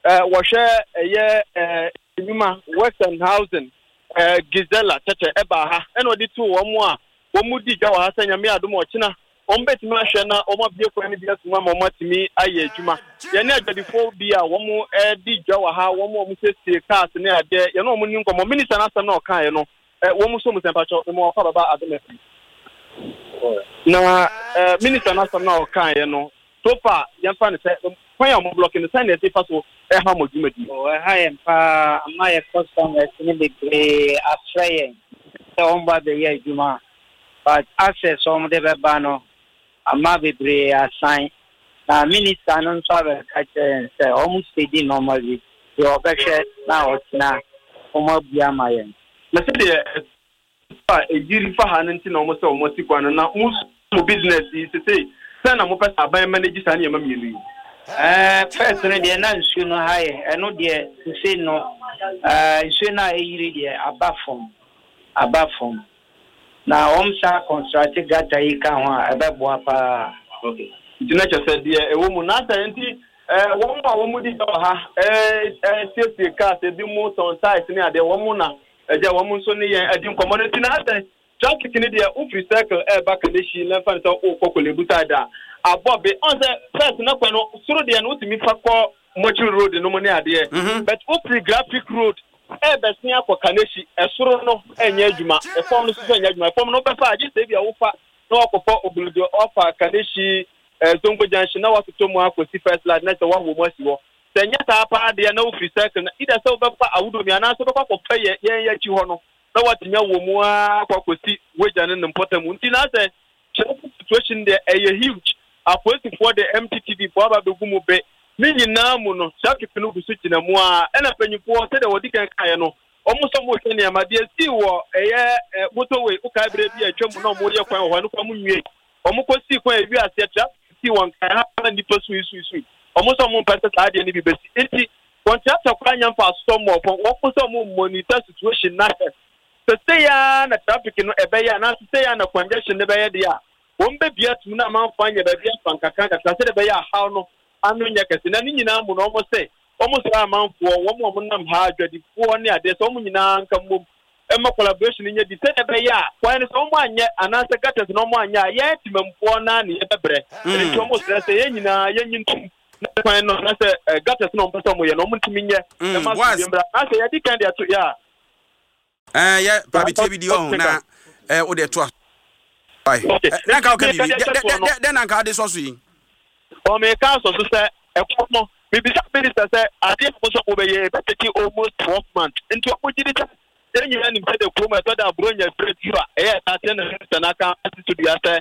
a eh, wɔhwɛ ɛyɛ eh, nnwuma Western Housing eh, Gisela kyɛkyɛ ɛbaa ha ɛna ɔde too wɔn a wɔn di dwa wɔ ha sɛ Nyame adom a ɔkyena wɔn bɛtumi ahwɛ na wɔn abue kwan no bi atum ama wɔn atumi ayɛ adwuma. Yɛne adwadifoɔ bi a wɔn di dwa wɔ ha, wɔn a wɔn siesie cars ne adeɛ, yɛne wɔn ni nkɔmmɔ. Minister no asɛm na ɔkaeɛ no, wɔn nso mu sɛ mpakyɛw, mema wɔkɔ ababa adom afiri. Na minister no asɛm na ɔkaeɛ no, so far yɛmfa no sɛ kwan a wɔn blɔke no sɛn na ɛsi fa so ɛha mo dwumadi? Ɛha yɛn paa, ama yɛ customers no bebree afrɛ yɛn sɛ wɔn ba bɛyɛ adwuma but access a wɔde bɛba no ama bebree asan. Na minister no nso abɛka kyerɛ yɛn sɛ wɔn steady nneɛma bi deɛ wɔbɛhwɛ na ɔkyena wɔn abue ama yɛn. Na sɛdeɛ ɛtɔ a ɛyiri fa ha no nti na wɔn sɛ wɔn asi kwan no na mo nso mo business yi sesei sɛn na mopɛ sɛ aban manage saa nneɛma mmienu yi? Ɛɛ first no deɛ na nsuo no ha yɛn ɛno deɛ sesei no ɛɛ nsuo no a ɛyiri deɛ aba fam aba fam. Na wɔn san construct gutter yi ka ho a, ɛbɛboa paa. Okay. Nti na kyerɛ sɛ deɛ ɛwɔ mu na sɛ nti eh, wɔn a wɔn di dwa wɔ ha eh, eh, siesie cars ebi mu tɔn tyres ne adeɛ wɔn na ɛgya wɔn nso ne yɛn adi nkɔmɔ no nti na sɛ traffic ne deɛ wofiri circle ɛreba Kaneshie na ɛfa ne sɛ wokɔ Korle-Bu side a abɔ be ɔn sɛ first na kwan no soro deɛ no wotumi fa kɔ Mortuary road no mu ne adeɛ but wofiri graphic road ɛrebɛsen akɔ Kaneshie ɛsoro no ɛnyɛ adwuma ɛfam no nso so ɛnyɛ adwuma ɛfam no wobɛfa agye sɛ ebi a wofa na wakɔfa Obulodo wafa Kaneshie eh, Zongo junction na watotɔ mu akɔsi first light na sɛ woawɔ mu asi hɔ sɛ ɛnyɛ saa paa deɛ na wofiri circle na either sɛ wobɛfa Awudomi anaasɛ wobɛkɔ akɔfa yɛ yɛn akyi hɔ no na watumi awɔ mu ara akɔ akɔsi wagya ne ne mpɔtam nti na sɛ Traffic situation deɛ ɛyɛ huge, apolisifoɔ de MTTD foɔ aba abɛgu mu be, ne nyinaa mu no traffic no gu so gyina mu ara, ɛna mpanyinfoɔ sɛdeɛ wɔdi kan kaeɛ no wɔn nso wɔrehwɛ nneɛma, deɛ ɛsii wɔ ɛyɛ motorway, wokae berɛ bi a atwa mu na wɔreyɛ kwan wɔ hɔ, ɛno koraa wɔnwiei, wɔn kɔ sii kwan ɛwi aseɛ traffic sii wɔn kan ha na nnipa sui sui sui, wɔn nso wɔn mpɛ sɛ saa adeɛ no bi bɛsi, nti contractor koraa nya mfasoɔ mmɔɔ fam, wɔn nso wɔn monitor situation no ahwɛ. Sɛ sei ara na traffic no ɛbɛyɛ anaasɛ sei ara na congestion no bɛyɛ deɛ a, wɔbɛbue atom na amanfoɔ anya baabi afa nkakrankakra sɛdeɛ ɛbɛyɛ a haw no ano nyɛ kɛse. Na ne nyinaa mu no, wɔse wɔsrɛ amanfoɔ, wɔn a wɔnam ha, adwadifoɔ ne adeɛ, sɛ wɔn nyinaa nka mmom mma collaboration no nyɛ di sɛdeɛ ɛbɛyɛ a kwan no sɛ wɔanyɛ anaasɛ gutters no wɔanyɛ a, yɛn temammufoɔ no ara na yɛbɛbrɛ. Ɛno nti wɔsrɛ sɛ yɛn nyinaa yɛnyi ntom na kwan no anaasɛ gutters no a wɔpɛ sɛ wɔyɛ no wɔntumi nyɛ mma Boaz. asomdwoeɛ mmra. Anaasɛ yɛadi kan de ato yɛ a, Ɛɛ yɛ pabi tie bi di ɔho na ɛɛ o de to a. Okay. Na nka ɔka Meka biribi. deɛ Dɛ ɛhyɛ dɛ soɔ no. dɛ dɛ na nka ade sɔ so yi. Ɔ meka asɔ so sɛ ɛkɔ no mebisa minister sɛ adeɛ a mo sɛ mobɛyɛ ɛbɛtake almost 12 months nti ɔmo gye di sɛ yɛn nyinaa nim sɛ de kurom ɛtɔ da Buronya berɛ du a ɛyɛ ɛtaa teɛ na minister no aka asi so dua sɛ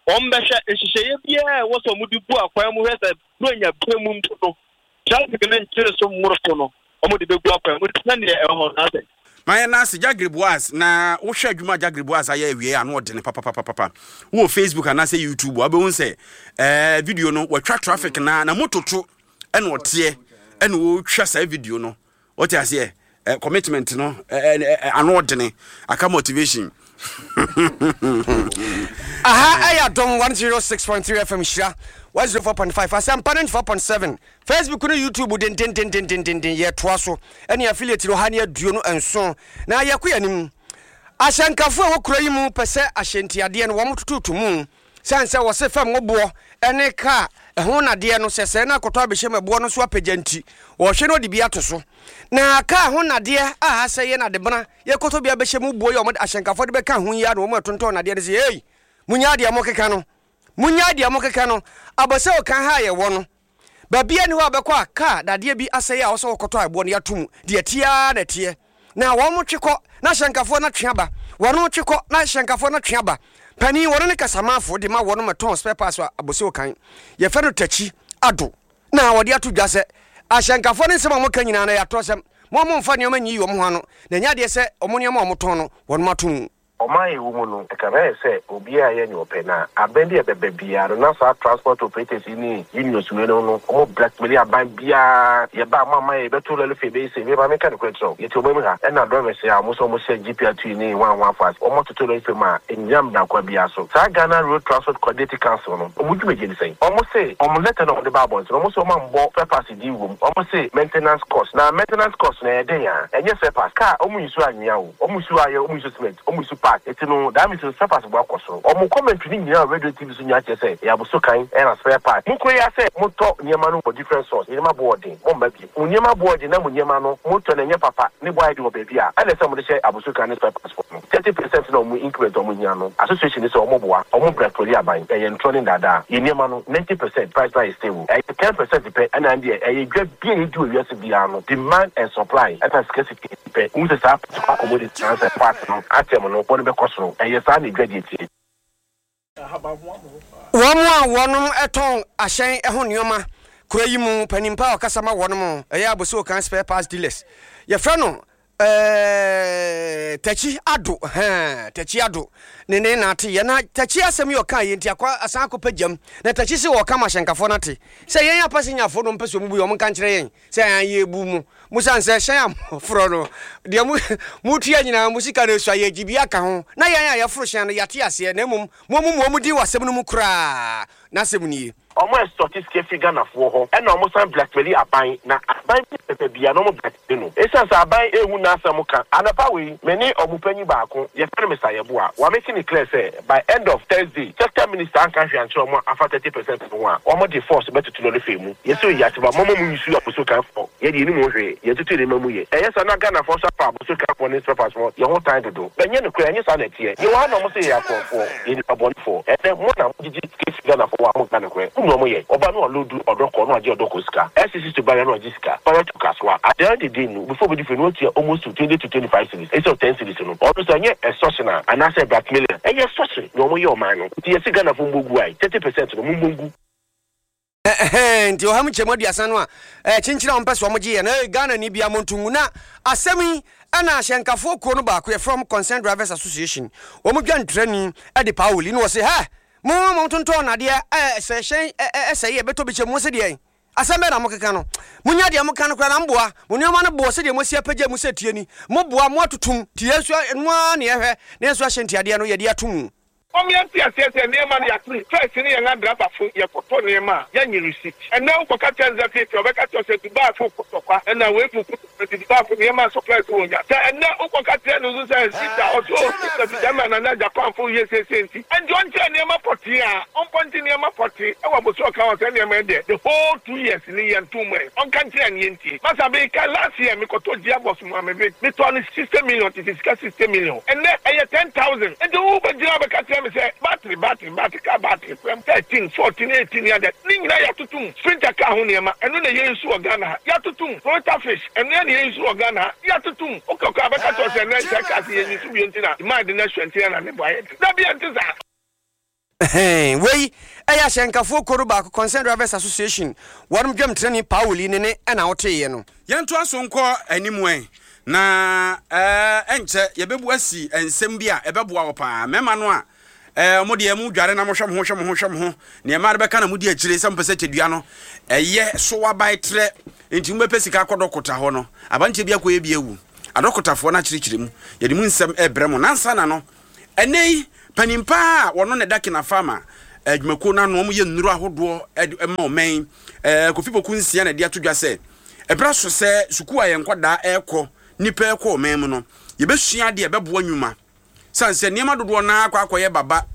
wɔn bɛhwɛ nhyehyɛeɛ biara a ɛwɔ sɛ wɔde bu akwan mu hwɛ sɛ Buronya berɛ mu mpo no traffic no nkyere so mmoro so no wɔde bɛgu akwan mu nti sɛdeɛ ɛwɔ hɔ no asɛ. Ma yɛn ase Jagre Boaz na wohwɛ adwuma a Jagre Boaz ayɛ awie a ano ɔdene papapapapa. Wowɔ Facebook anaasɛ YouTube a wobɛhu sɛ ɛɛ video no wɔatwa traffic na na mototo ɛna ɔteɛ ɛna wɔtwa saa video no. Wote aseɛ? Eh, commitment no eh, eh, eh, ano ɔdene aka motivation. Aha ɛyɛ Adom 106.3 FM Hyira 104.5 Asɛmpa 94.7 Facebook ne YouTube dendendendendenden yɛtoa so ɛne affiliate no 127 na yɛkɔ yɛn anim. Ahyɛnkafo a ɛwɔ kuro yi mu pɛ sɛ ahyɛntiadeɛ no wɔn tototo mu sane sɛ wɔse fam ngo boɔ ne kaa ɛho nnadeɛ no sɛ sɛɛ na akɔtɔ abɛhyɛ mu ɛboɔ no so apagya nti wɔhwɛ na wɔde bi ato so. Na kaa ho nnadeɛ a asɛ yɛ nadebena yɛkɔtɔ bi abɛhyɛ mu boɔ yi a wɔde ahyɛnkafoɔ de bɛka ho yi ara na wɔn a ɛtontɔn nnadeɛ no sɛ ei monyaa deɛ mokeka no monyaa deɛ mokeka no abɔ sɛ ɔkan ha a yɛwɔ no Baabiara nni hɔ a wobɛkɔ a kaa dadeɛ bi asɛe a ɛwɔ sɛ wɔkɔtɔ a ɛboɔ no yɛato mu. Deɛ ɛteɛ ara na ɛteɛ. Na wɔtwe kɔ, na hyɛnkafoɔ no atwe aba. Wɔtwe kɔ, na hyɛnkafoɔ no atwe aba. Panin, wɔno ne kasamafo de ma wɔnom ɛtɔn spare parts wɔ Abossey Okan. Yɛfrɛ no Takyi Addo. Na wɔde ato dwa sɛ, ahyɛnkafoɔ no nsɛm a wɔka nyinaa no ɛyɛ atorɔsɛm. Mo a momfa nneɛma nyiyi wɔn ho ano, na ɛnyɛ adeɛ sɛ wɔn nneɛma a wɔtɔn no wɔnom ato mu. Ɔman a yɛwɔ mu no, ɛkame ayɛ sɛ obiara yɛ nea ɔpɛ, na abɛn bi a ɛbɛba biara no, na saa transport operators yi ne unions wei nom no, wɔn blackmaili aban biara, yɛba a moamma yɛn, yɛbɛto lɔre fee, yɛbɛyɛ sei. Me ma menka nokorɛ nkyerɛ wo, yɛte ɔman mu ha, ɛna drivers yi a wɔn nso wɔhyɛ GPRT ne hwan hwan fo ase, wɔn atoto lɔre fee mu a, ɛnnyina mmara kwan biara so. Saa Ghana Road Transport Coordinating Council no, wɔn dwumadie ne sɛn? Wɔn se, wɔn letter no a wɔde baa abɔnten no, wɔn se wɔn ammɔ spare parts din wɔ mu, wɔn se maintenance cost, na maintenance cost no ɛyɛ dɛn a? Ɛnyɛ spare parts, car wɔn use anwea o. Wɔn su ayɛ, wɔn su cement, wɔn su park. Eti no that means no spare parts bo akɔ soro. Wɔn commentary no nyinaa wɔ radio ne TV so nyinaa kyerɛ sɛ ɛyɛ aboso kan ɛna spare part. Mo kuro yi ara sɛ mo tɔ nneɛma no wɔ different source, nneɛma bo wɔ den, mo mma bio. Mo nneɛma bo wɔ den na mo nneɛma no mo tɔ no ɛnyɛ papa, ne bo ayɛ den wɔ baabi a, ɛna ɛsɛ mo de hyɛ aboso kan ne spare parts foɔ no. 30% na wɔn increment a wɔn hia no, association no sɛ wɔn boa, wɔn blackmaili aban, ɛyɛ ntorɔ ne ndaadaa. Yɛn nneɛma no 90% price no ayɛ stable, ɛyɛ 10% pɛ ɛna ɛndeɛ ɛyɛ dwa bi a yɛdi wɔ wiase biara no, demand and supply ɛna scarcity. Pɛ, wohu sɛ saa particular commodity anaasɛ part no atɛm no, bɔ no bɛkɔ soro. Ɛyɛ saa na adwadie teɛ. Wɔn a wɔnom tɔn ahyɛn ho nnoɔma kuro yi mu panin pa a ɔkasa ma wɔnom ɛyɛ Abossey Okan Spare Parts Dealers yɛfrɛ no eh, Takyi Addo hɛn Takyi Addo ne ne na ate yɛ na Takyi asɛm yi ɔka yɛ nti akɔ asan akɔpɛ gyam na Takyi se ɔka ma ahyɛnkafoɔ no ate sɛ yɛn apasenyafoɔ no mpɛ sɛ ɔmo bu yɛ ɔmo nka nkyerɛ yɛn Sɛ yɛn yɛbu mo, mosiane sɛ hyɛn a moforɔ no, deɛ mo, motua nyinaa, mo sika no asua, yɛgye bi aka ho, na yɛn a yɛforo hyɛn no, yɛate aseɛ, na mmom moammu mo din wɔ asɛm no mu koraa. N'asɛm nie. Ɔmo extorte sika firi Ghanafoɔ hɔ ɛna ɔmo san blackmaili aban na aban bi pɛpɛ bia na ɔmo blackmaili no esiane sɛ aban ehu n'asɛm ka. Anɔpa wei me ne ɔmo panyin baako yɛfrɛ no Mister Yeboah wa make no clear sɛ by end of Thursday sector minister anka hwee ankyerɛ ɔmo afa 30% no ho a ɔmo de force bɛtoto lɔre fare mu. Yɛsɛ oyi ase ba mɔmɔ mo nsu aboso kan fɔ yɛ deɛ yɛnim ho hwee yɛn toto nneɛma mu yɛ ɛyɛ saa na Ghana foɔ nso afa aboso kan foɔ ne spare foɔ yɛn ho tan dodo bɛnyɛ nokorɛ ɛnyɛ saa na ɛteɛ yɛwɔ ha na ɔmo sɛ yɛyɛ akorɔmfoɔ yɛ nipa bɔne foɔ ɛnɛ mo na mo gyegye sika firi Ghana foɔ hɔ a mo nka nokorɛ mo nua mo yɛ ɔba no ɔlodu ɔdɔkɔ na wagye ɔdɔkɔ sika SCC to barrier na wagye sika barrier to kasoa at the end of the day no before obedi fie no watua almost to 20 to 25 cedis instead of 10 cedis no ɔno sɛ ɛnyɛ extortion a anaasɛ blackmailing a ɛyɛ extortion na ɔmo yɛ ɔman no nti yɛse Ghana foɔ mbɔ gu ae 30% no mo mbɔ ngu. Ɛhɛn, nti ɔha mu nkyɛmu aduasa no a ɛɛ kyenkyen a wɔmpɛ sɛ wɔgye yɛ no, ee Ghanani bia monto ngu. Na asɛm yi ɛna ahyɛnkafoɔ kuo no baako yɛfrɛ wɔn Concerned Drivers Association, wɔn dwantrani de Paoli na wɔse hɛ, mo a motontɔn nnadeɛ ɛɛ sɛ hyɛn ɛsɛe ɛbɛtɔ bi kyɛ mu, mose deɛn? Asɛm bɛn na mokeka no? Monya deɛ moka no koraa na moboa, mo nneɛma no boɔ sɛdeɛ moasi apagya mu sɛ tie ni, moboa, moatotom, nti yɛn nso ɛno ara na yɛhwɛ na yɛn nso ahyɛ ntiadeɛ no yɛde ato mu. Wɔn yɛn te aseɛ sɛ nneɛma no yɛatene first ne yɛn adrabafo yɛkɔtɔ nneɛma a yɛnye receipt ɛnɛ wokɔka kyerɛ no sɛ feefee ɔbɛka kyerɛ wo sɛ Dubai fo ko tɔkwa ɛna wei fo ko tɔkwa nti Dubai fo nneɛma supplies wɔ nya sɛ ɛnɛ wokɔka kyerɛ no nso sɛ sister ɔse oh sister fi Germany anaa Japan fo yɛ seesei nti ɛnti ɔnkyerɛ nneɛma pɔtee a ɔmpɔnte nneɛma pɔtee ɛwɔ abosoɔ ɔka ho sɛ nneɛma yi deɛ the whole 2 years ni yɛnto mu ɛ ɔnka nkyerɛ no yɛntie masa meka last year mekɔtɔ gearbox mu a me metɔɔ no 60 million tete sika 60 million ɛnɛ ɛyɛ 10,000 nti wo bɛgyina bɛka kyerɛ me sɛ battery battery battery car battery fam 13 14 18 ne adeɛ ne nyinaa yɛatoto mu sprinter car ho nneɛma ɛno na yɛyi so wɔ Ghana ha yɛatoto mu Toyota fish ɛno na yɛyi so wɔ Ghana ha yɛatoto mu wokɔ kɔ a bɛka kyerɛ wo sɛ ɛnɛ sɛ cars yɛnyi so bio nti na demand no asua nti na ne bo ayɛ den dabi ɛnte saa. Ɛhɛn, wei yɛ ahyɛnkafoɔ kuo no baako, Concerned Drivers Association, wɔnom dwamtenani Paoli ne ne na woteeɛ no. Yɛntoa so nkɔ anim ɛ. Na ɛnkyɛ yɛbɛbu asi nsɛm bi a ɛbɛboa wo paa. Mmarima no a ɛɛ mo deɛ mo dware na mohwɛ mo ho hwɛ mo ho hwɛ mo ho, nea mmaa no bɛka na modi akyire sɛ mopɛ sɛ kyɛdua no ɛyɛ so abae trɛ nti mobɛpɛ sika akɔ dɔkota hɔ no, abanteɛ bi akɔyɛ bi awu. Adɔkotafoɔ no akyerɛkyerɛ mu. Yɛde mu nsɛm ɛrebrɛ mo. Nansa na no, ɛnnɛ yi, panin paa a wɔno na ɛda Kinafama adwumakuo no ano, wɔyɛ nnuro ahodoɔ de ma ɔman yi, Kofi Poku Nsia na ɛde ato dwa sɛ, Ɛberɛ aso sɛ sukuu a yɛn nkwadaa rekɔ, nnipa rekɔ ɔman mu no, yɛbɛsua adeɛ a ɛbɛboa nnwuma. Sane sɛ nneɛma dodoɔ no ara akɔ akɔyɛ baba,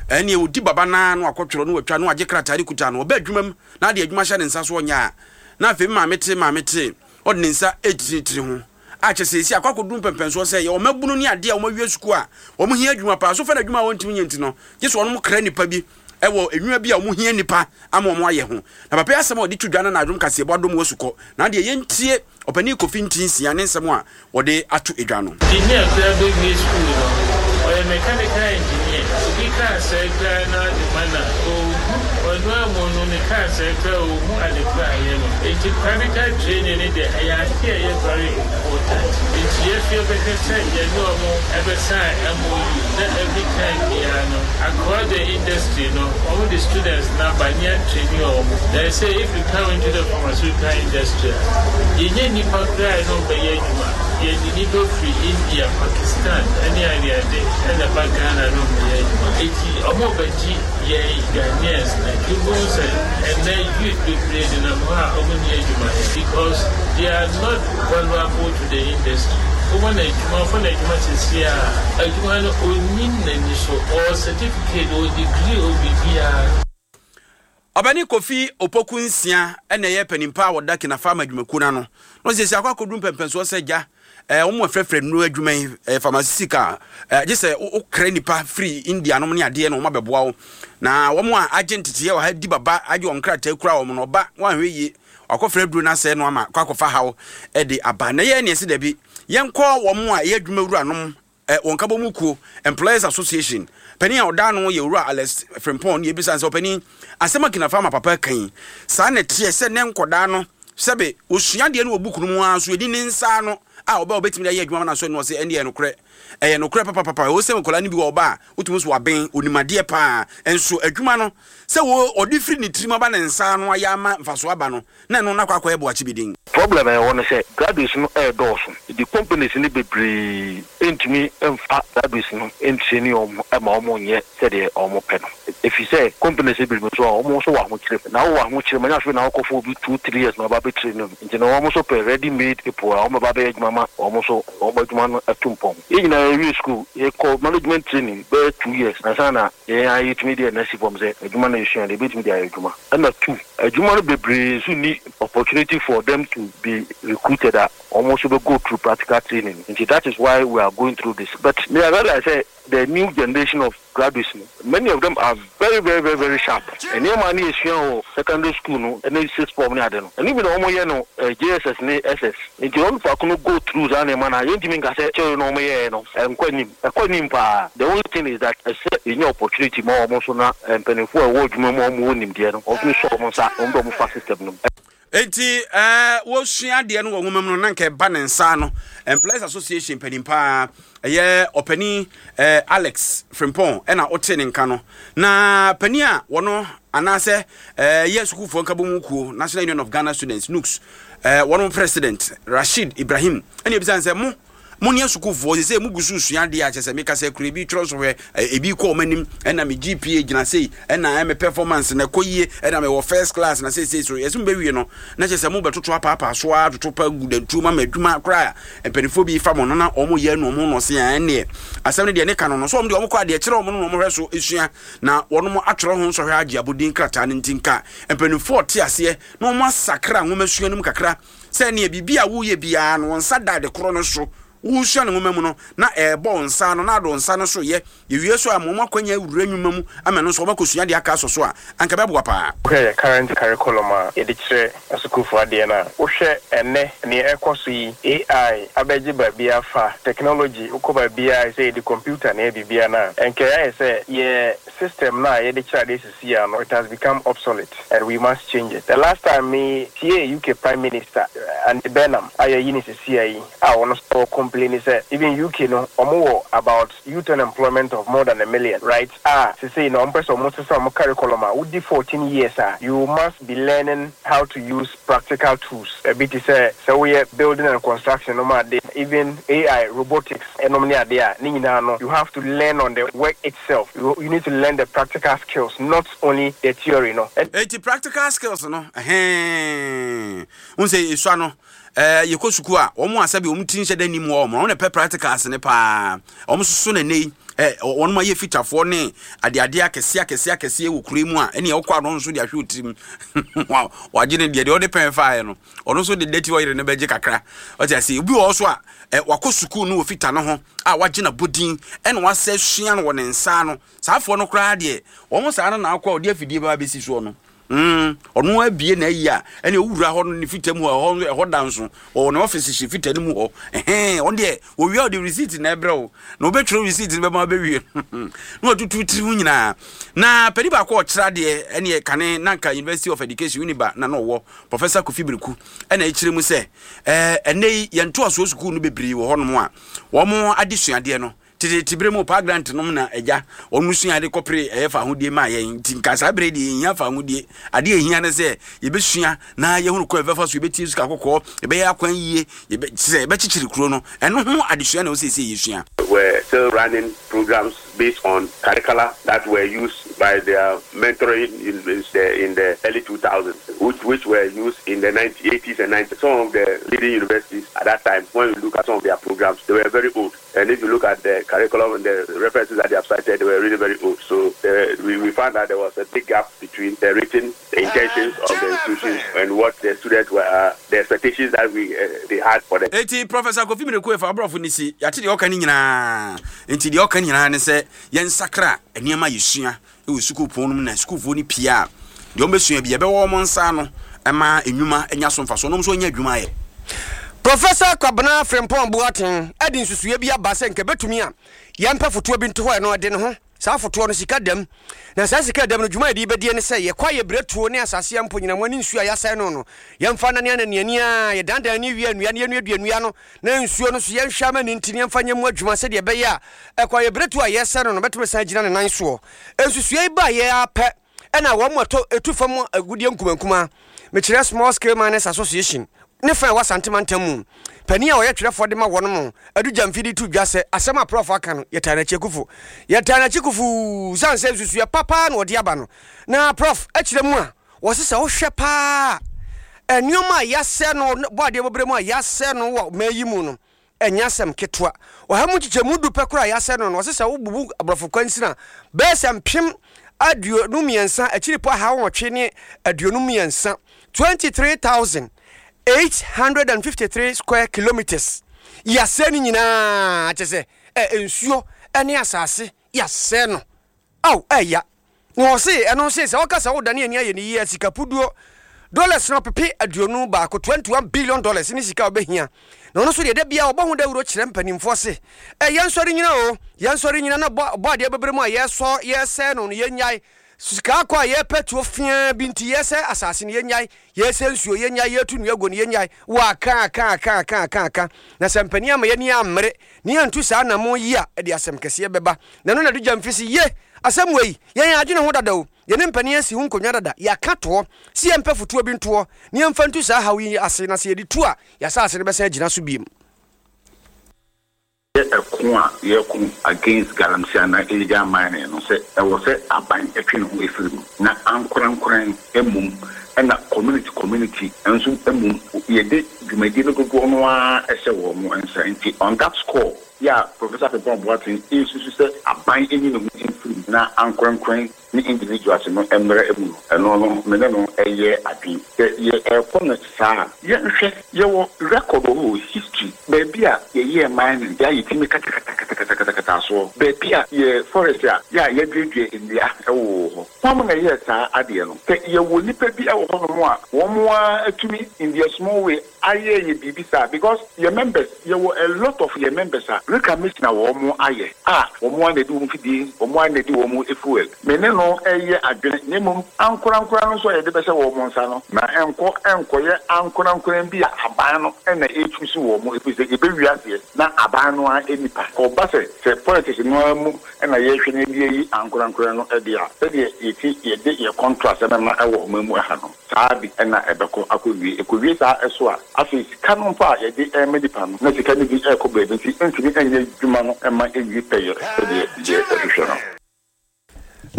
ɛnneɛ ɔdi baba no ara na wakɔtwerɛ na watwa na wagye krataa de kuta no, ɔba adwuma mu na ade adwuma hyɛ ne nsa so ɔnyɛ a, na afei maame te maame te, ɔde ne nsa retiritiri ho. A kyerɛ sɛ seesei akɔ akɔduru mpɛmpɛnsoɔ sɛ yɛwɔ mmabunu ne adeɛ a wɔawie sukuu a wɔhia adwuma paa. So fa no adwuma a wɔntumi nyɛ nti no, gye sɛ wɔnom kra nnipa bi wɔ nnwuma bi a wɔhia nnipa ama wɔn ayɛ ho. Na papa yi asɛm a ɔde to dwa no na adom kaseɛbɔ adom wɔ sukɔ. Na adeɛ yɛntie Ɔpanin Kofi Ntinsia ne nsɛm a wɔde ato dwa no. Engineer koraa bɛwie sukuu no, ɔyɛ mechanical engineer. Obi kaa sɛe koraa na ɔde ma no a, ɔnhu. Ɔno amu no, ne kaa sɛe koraa a, ɔnhu ade korɔ a ɛyɛ no. Enti practical training no deɛ, ɛyɛ adeɛ a ɛyɛ very important. Enti yɛso yɛbɛhwɛ sɛ yɛne wɔn bɛ sign MOU na every time biara no, across the industry no, wɔn de students no aba ne yɛatraini wɔn. Na ɛsɛ if you come into the pharmaceutical industry a, yɛnnya nnipa koraa a yɛne wɔn bɛyɛ adwuma. Yɛde nnipa firi India, Pakistan ne adeade na ɛba Ghana ne wɔn bɛyɛ adwuma. Enti wɔrebɛgye yɛn Ghanaians no. Wobɛhu sɛ ɛnnɛ youth bebree nenam hɔ a wɔnni adwuma yɛ because they are not valuable to the industry. Woma no adwuma, ɔfa no adwuma seesei a, adwuma no ɔnnim n'ani so, ɔwɔ certificate, ɔwɔ degree, ɔwɔ biribiara. Ɔbɛne Kofi Opoku Nsia na ɛyɛ panin pa a ɔda Kinafama adwumakuo no ano. Na ɔsiesie akɔ akɔduru mpɛmpɛnsoɔ sɛ gya eh, wɔn afrɛfrɛ nnuro adwuma yi eh, pharmaceutical eh, gye sɛ wokra nnipa firi India nom ne adeɛ na wɔn abɛboa wo. Na wɔn a agye nteteeɛ wɔ ha di baba agye wɔn nkrataa kura wɔn no ɔba wɔanhwɛ yie wakɔfrɛ aduro no asɛe no ama kɔ akɔfa haw de aba. Na yɛn ne ɛsɛ dabi yɛnkɔ wɔn a ɛyɛ adwuma wuranom Wɔn nkabɔmu kuo, Employers Association, panin a ɔda ano yɛ Owura Alex Frimpong na yɛbisa no sɛ, Ɔpanin, asɛm a Kinafa ama papa aka yi, saa na ɛteɛ sɛ nnɛ nkɔdaa no, sɛbe wɔsua adeɛ no wɔ book no mu ara nso ɛni ne nsa ano a ɔba a ɔbɛtumi de ayɛ adwuma ama no asɔ ani? Ɔse, Ɛndeɛ ɛyɛ nokorɛ. Ɛyɛ nokorɛ papapapa. Ɛwɔ sɛ nkɔdaa no bi wɔ ɔba a, wotumi hu sɛ waben, ɔnim adeɛ pa ara, nso adwuma no, sɛ ɔde firi ne tirim aba ne nsa ano ayɛ ama mfasoɔ aba no, na ɛno no akɔ akɔyɛ boakye bi din. Problem a ɛwɔ ne sɛ graduates no ɛredɔɔso nti companies no bebree ntumi mfa graduates no ntraini wɔn ma wɔn nyɛ sɛdeɛ wɔn pɛ no ɛfiri sɛ companies no bebree nso a wɔn nso wɔ ahokyere mu na wowɔ ahokyere mu ɛnyɛ afei na wokɔfa obi two three years na waba abɛ traini no nti no wɔn nso pɛ ready made people a wɔn bɛba abɛyɛ adwuma ma wɔn nso wɔn adwuma no atu mpɔn. Yɛn nyinaa yɛwie school yɛkɔ management training bɛyɛ 2 years ansa na yɛn ara yɛtumi de yɛn nan si fam sɛ adwuma no a yɛsua no yɛbɛtumi de ayɛ adwuma. Ɛna tu, adwuma no bebree nso nni opportunity for them to be recruited a wɔn nso bɛ go through practical training nti that is why we are going through this but me I realize sɛ the new generation of graduates no many of them are very very very very sharp nneɛma a ne yɛsua wɔ secondary school no ne sixth form ne ade no ɛno bi na wɔn yɛ no JSS ne SS nti wɔn faako no go through saa nneɛma no a yɛntumi nka sɛ kyɛw no wɔn yɛɛ no ɛnkɔ anim. Ɛkɔ anim paa. The only thing is that ɛsɛ yɛnya opportunity ma wɔn nso na mpaninfoɔ a ɛwɔ adwuma mu a wɔn wɔ nimdeɛ no wɔn tumi sɔ wɔn nsa na wɔn de wɔn fa system no mu. Enti eh, wɔsua adeɛ no wɔ nwoma mu no na nka ɛba ne nsa ano. Employers Association panin paa ɛyɛ ɔpanin eh, Alex Frimpong ɛna ɔte ne nka no. Na panin a wɔno anaasɛ eh, yɛ sukuufoɔ nkabom kuo National Union of Ghana Students NUGS eh, wɔn president Rashid Ibrahim ɛna ebisa sɛ mo Mo ne asukuufoɔ seesei mo gu so resua adeɛ a kyerɛ sɛ meka sɛ kura ebi twerɛ nsɔhwɛ ebi kɔ wɔn anim ɛna me GPA gyina sei ɛna me performance na ɛkɔ yie ɛna mewɔ first class na seesei so yɛsɛ mo bɛwie no na kyerɛ sɛ mo bɛtoto apaapaa so ara toto pa gu dantuo ma ma adwuma koraa mpanimfoɔ bi fa mo no na wɔn yɛ no wɔn no ɔse ɛnneɛ asɛm no deɛ ne ka no no so wɔn deɛ wɔn kɔ adeɛ kyerɛ wɔn no na wɔn hwɛ so esua na wɔn atwerɛ ho nsɔhwɛ agye abodin krataa no nti nka mpanimfoɔ te aseɛ na wɔn asakra nwomasua no mu kakra Sɛ nea biribi a woreyɛ biara no, wo nsa da ade koro no so. Woresua no nwoma mu no, na ɛrebɔ wo nsa ano, na ade wo nsa no so yɛ. Yɛwie nso a, ma wɔn akwanya awura nnwuma mu ama ɛno nso wɔakɔsua adeɛ aka asɔ so a, anka ɛbɛboa paa. Wohwɛ yɛn current curriculum a yɛde kyerɛ asukuufo adeɛ no a, wohwɛ ɛnnɛ nea ɛrekɔ so yi, AI abɛgye baabiara afa, technology, wokɔ baabiara a ɛsɛ yɛde computer na ɛyɛ biribiara no a, ɛnka ɛyɛ ayɛ sɛ yɛn system no a yɛde kyerɛ adeɛ sisi a no, it has become obsolete and we must change it. The last time me tiee UK Prime Minister, Andy Burnham a yɛayi no sesia yi a ɔno nso ɔ complaini sɛ even UK no ɔmo wɔ about youth unemployment of more than a million right a sesei no ɔmo pɛ sɛ ɔmo sesa ɔmo curriculum a wodi 14 years a you must be learning how to use practical tools ɛbi te sɛ sɛ woyɛ building and construction nom ade even AI robotics ɛnom ne ade a ne nyinaa no you have to learn on the work itself you you need to learn the practical skills not only the theory no. Enti practical skills no ɛhɛɛn wohu sɛ yɛsua no ɛɛ yɛkɔ sukuu a wɔn a sɛbi wɔn ti nhyɛ da nnim hɔ wɔn na pɛ practicals ne paa wɔn soso na ɛnɛ yi ɛ wɔn ayɛ fitafoɔ ne adeade akɛseɛ akɛseɛ akɛseɛ wɔ kuro yi mu a ɛne ɔkɔ ano nso de ahwɛ otirim wagye ne deɛ deɛ ɔde pɛn faeɛ no ɔno nso de dɛti ɔyere no bɛgye kakra ɔte ase obi wɔ hɔ so a ɛ wakɔ sukuu no wɔ fita no ho a wagye n'abɔdin ɛna wasɛ sua no wɔ ne nsa ano saa afoɔ no koraa deɛ wɔn saa no na akɔ a ɔde afidie bɛba bɛsi soɔ no Mm, ɔno abie na ayi a ɛne owura hɔ no ne fita mu hɔ ɛhɔ ɛhɔ da nso ɔwɔ ne ɔfisi hyɛ fita no mu hɔ ɛhɛn ɔno deɛ wɔwia ɔde receipt na ɛbrɛ wo na ɔbɛtwerɛ receipt no bɛma bɛwie na watutu tiri ho nyinaa na pɛni baako a ɔkyerɛ adeɛ ɛne kane na nka University of Education Uniba na na ɔwɔ Professor Kofi Bereku ɛna ɛkyerɛ mu sɛ ɛɛ ɛnɛ yi yɛn ntoasoɔ sukuu no bebree wɔ hɔnom a wɔn adesuadeɛ no Teteete bere mu Paa Grant nom na agya wɔn sua ade kɔpere ɛyɛ fahodie maa yɛn nti nka saa bere deɛ yɛnhia fahodie. Adeɛ ɛhia ne sɛ yɛbɛsua na yɛhunu kwan yɛbɛfa so yɛbɛtie sika kɔkɔɔ, yɛbɛyɛ akwan yie, yɛbɛ sɛ yɛbɛkyekyere kuro no. Ɛno ho adesua na ɛwɔ sɛ ɛsɛ yɛsua. Were still running programs based on curricula that were used by their mentoring in the in the early 2000s, which which were used in the 1980s and 90s. Some of the leading universities at that time, when you look at some of their programs, they were very old. And if you look at the curriculum and the references that they have cited, they were really very old. So uh, we, we found that there was a big gap between the written the intentions of the institutions and what the students were, uh, the expectations that we uh, they had for them. Eti Professor Kofi Mireku efa aborɔfo ne si yɛate deɛ ɔka ne nyinaa nti deɛ ɔka nyinaa ne sɛ yɛnsakra nneɛma yɛsua wɔ sukuu pon no mu na sukuufoɔ no pie a, deɛ wɔbɛsua bi ɛbɛwɔ wɔn nsa ano ma nnwuma anya so mfasoɔ na wɔn nso anya adwuma ayɛ. Professor Kwabena Frimpong Boateng de nsusuiɛ bi aba sɛ nka ɛbɛtumi a yɛmpɛ fotoɔ bi nto hɔ ɛno ɛde ne ho saa fotoɔ no sika dam na saa sika dam no dwuma a yɛde bɛdie ne sɛ yɛkɔ ayɛ berɛtuo ne asase a mpo nyinamoa ne nsuo a yɛasɛe no no yɛmfa nane ananiani a yɛdandan ani wie nnua no yɛnuadua nnua no na nsuo no nso yɛnhwɛ ama no nti na yɛmfa nyɛ mu adwuma sɛdeɛ ɛbɛyɛ a ɛkɔayɛberɛtuo a yɛresɛ no no bɛtumi asan agyina ne nan soɔ. Nsusuiɛ yi baeɛ ara pɛ na wɔn a ɛtɔ ɛtu fam agudeɛ nkumankumaa, mekyerɛ Small Scale Miners Association, ne fa a ɛwɔ Asante mantam mu panin a ɔyɛ twerɛfoɔ de ma wɔn mo, Adu Gyamfi de to dwa sɛ asɛm a Prɔfo aka no yɛtaa n'akyi akufo. Yɛtaa n'akyi kufuu sane sɛ nsusuiɛ pa paa na ɔde aba no. Na Prɔf kyerɛ mu a Wɔse sɛ wohwɛ paa a, nneɛma a yɛasɛe no wɔ bɔadeɛ bɔberɛ mu a yɛasɛe no wɔ ɔman yi mu no, ɛnyɛ asɛm ketewa. Ɔha mu nkyekyɛmu du pɛ koraa a yɛasɛe no no, wɔse sɛ wobubu aborɔfo kwansini a, bɛyɛ sɛ 23,000 akyiripɔ 853, 23,853 square kilometres, yɛasɛe no nyinaa, kyerɛ sɛ ɛ, nsuo ne asase, yɛasɛe no. Ao, ɛya. Na ɔse, ɛno nse sɛ ɔka sɛ wodane ani ayɛ ne yie a, sika puduo, dollars no ɔpepe 21, 21 billion dollars, ne sika a ɔbɛhia. Na ɔno nso deɛ da biara ɔbɔ ho dawuro kyerɛ mpanimfoɔ se, ɛ, yɛnsɔre nyina o, yɛnsɔre nyina na bɔ, bɔ adeɛ bɛbrɛ mu a yɛsɔ, yɛsɛe no no, yɛnnyae. Sika akɔ a yɛpɛ tuo feaa bi nti yɛsɛe asase no, yɛnnyae. Yɛsɛe nsuo, yɛnnyae. Yɛtu nnua guo no, yɛnnyae. Wɔaka, aka, aka, aka, aka, aka. Na sɛ mpanin amma yɛn ani ammere na yɛantu saa anammɔn yi a, ɛde asɛm kɛseɛ bɛba. Na ɛno na ɛde gya mfi se, Ye! Asɛm wei, yɛn yɛadwene ho dada o, yɛne mpanin asi ho nkonnwa dada, yɛaka toɔ se yɛmpɛ fotoɔ bi ntoɔ na yɛmfa ntu saa haw yi ase, na sɛ yɛde tu a, yɛn asase no bɛsan agyina so bio. Yɛ ɛko a yɛko against galamsey anaa illegal mining no sɛ ɛwɔ sɛ aban twe ne ho firi mu na ankorankoran mmom ɛna community community nso mmom yɛde dwumadie no dodoɔ no ara hyɛ wɔn nsa nti on that score yɛ a Professor Frimpong Boateng nsusu sɛ aban nyi ne ho mfiri mu na ankorankoran ne individuals no mmra mu no, ɛno no me ne no yɛ adwen. Sɛ yɛrekɔ no saa a, yɛnhwɛ, yɛwɔ record wɔ hɔ, history, baabi a yɛyɛɛ mining, yɛ a yɛtumi katakatakatakata. yɛkatakata soɔ, baabi a yɛ forest a yɛ a yɛaduadua nnua wowɔ hɔ. Hwan na ɛyɛɛ saa adeɛ no? Sɛ yɛwɔ nnipa bi wɔ hɔnom a wɔn ara atumi in their small way ayɛ yɛ biribi saa because yɛ members, yɛwɔ a lot of yɛ members a reclamation a wɔn ayɛ a wɔn ara na ɛde wɔn fidie, wɔn ara na ɛde wɔn fuel. Me ne no reyɛ adwene na mmom ankorankora no nso a yɛde bɛhyɛ wɔn nsa no, ma ɛnkɔ nkɔyɛ ankorankora bi a aban no na ɛrechuusi wɔn ɛfiri sɛ yɛbɛwie aseɛ na aban no ara nnipa. Kɔba sɛ sɛ politics no ara mu na yɛrehwɛ na yɛde ayi ankorankora no de a, sɛdeɛ yɛti yɛde yɛ contracts bɛma wɔ ɔman mu ha no, saa ara bi na ɛbɛkɔ akɔwie. Ɛkɔwie saa so a, afei sika no mpo a yɛde rema nnipa no, na sika no bi rekɔ baabi nti ɛntumi nyɛ adwuma no mma ɛnwie pɛyɛ sɛdeɛ yɛhwehwɛ no.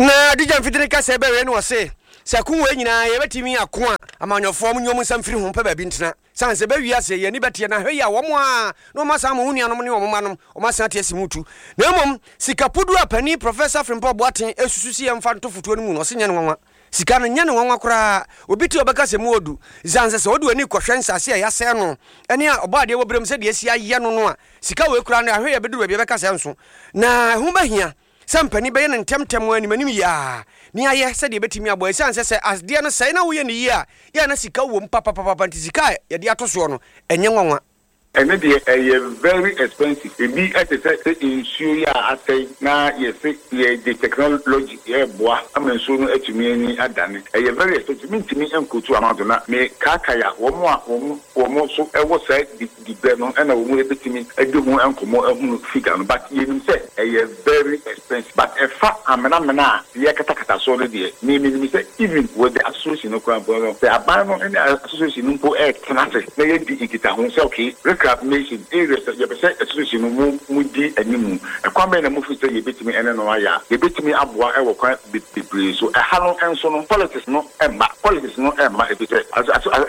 Na Adija mfitini kasa bɛwie no ɔse, sɛ ko wei nyinaa yɛbɛtumi ako a, amanyɔfoɔ monyɛ wɔn nsa mfiri ho mpɛ baabi ntena. Sane sɛ bɛ wiase yɛn ani bɛteɛ na hwɛ yi a wɔn a na wɔn asan ama wɔn nuanom ne wɔn mma nom wɔn asan ate asi mu tu. Na mmom sika puduo a panin Professor Frimpong Boateng susu se yɛmfa nto fotoɔ no mu no ɔse nyɛ no nwanwa. Sika no nyɛ no nwanwa koraa. Obi te a ɔbɛka sɛ mu ɔdu. Sane sɛ sɛ wode w'ani kɔhwɛ nsase a yɛasɛe no ne a Ɔbɔadeɛ wɔ berɛ mu sɛdeɛ asi ayɛ no no a, sika wei koraa no ahwɛ yi a ɛbɛduru baabi a ɛbɛka sɛ ɛnso. Na ɛho bɛhia sɛ mpanin bɛyɛ no ntɛmntɛm animanim yie ara ne ayɛ sɛdeɛ ɛbɛtumi aboa. Ɛsiane sɛ sɛ adeɛ no sɛe na woyɛ no yie a, yɛ a na sika wom papapapa nti sika a yɛde ato soɔ no, ɛnyɛ nwanwa. Ɛno deɛ ɛyɛ very expensive. Ebi te sɛ sɛ nsuo yi a asɛe na yɛse yɛde technology reboa ama nsuo no atumi ani adane. Ɛyɛ very expensive. Mentumi nkotu amount no na mekaakae a wɔn a wɔn wɔn nso wɔ saa dibrɛ no na wɔn bɛtumi adi ho nkɔmmɔ ahunu figure no but yɛnim sɛ ɛyɛ very expensive but ɛfa amena mena a yɛkatakata soɔ no deɛ me menim sɛ even with the association no koraa mpo no sɛ aban no ne association no mpo retena ase na yɛadi nkitaho sɛ okay reclamation areas yɛpɛ sɛ association no mo mo di animu ɛkwan bɛn na mo feel sɛ yɛbɛtumi ɛne no ayɛ a yɛbɛtumi aboa wɔ kwan bebree so ɛha no nso no politics no mma politics no mma efisɛ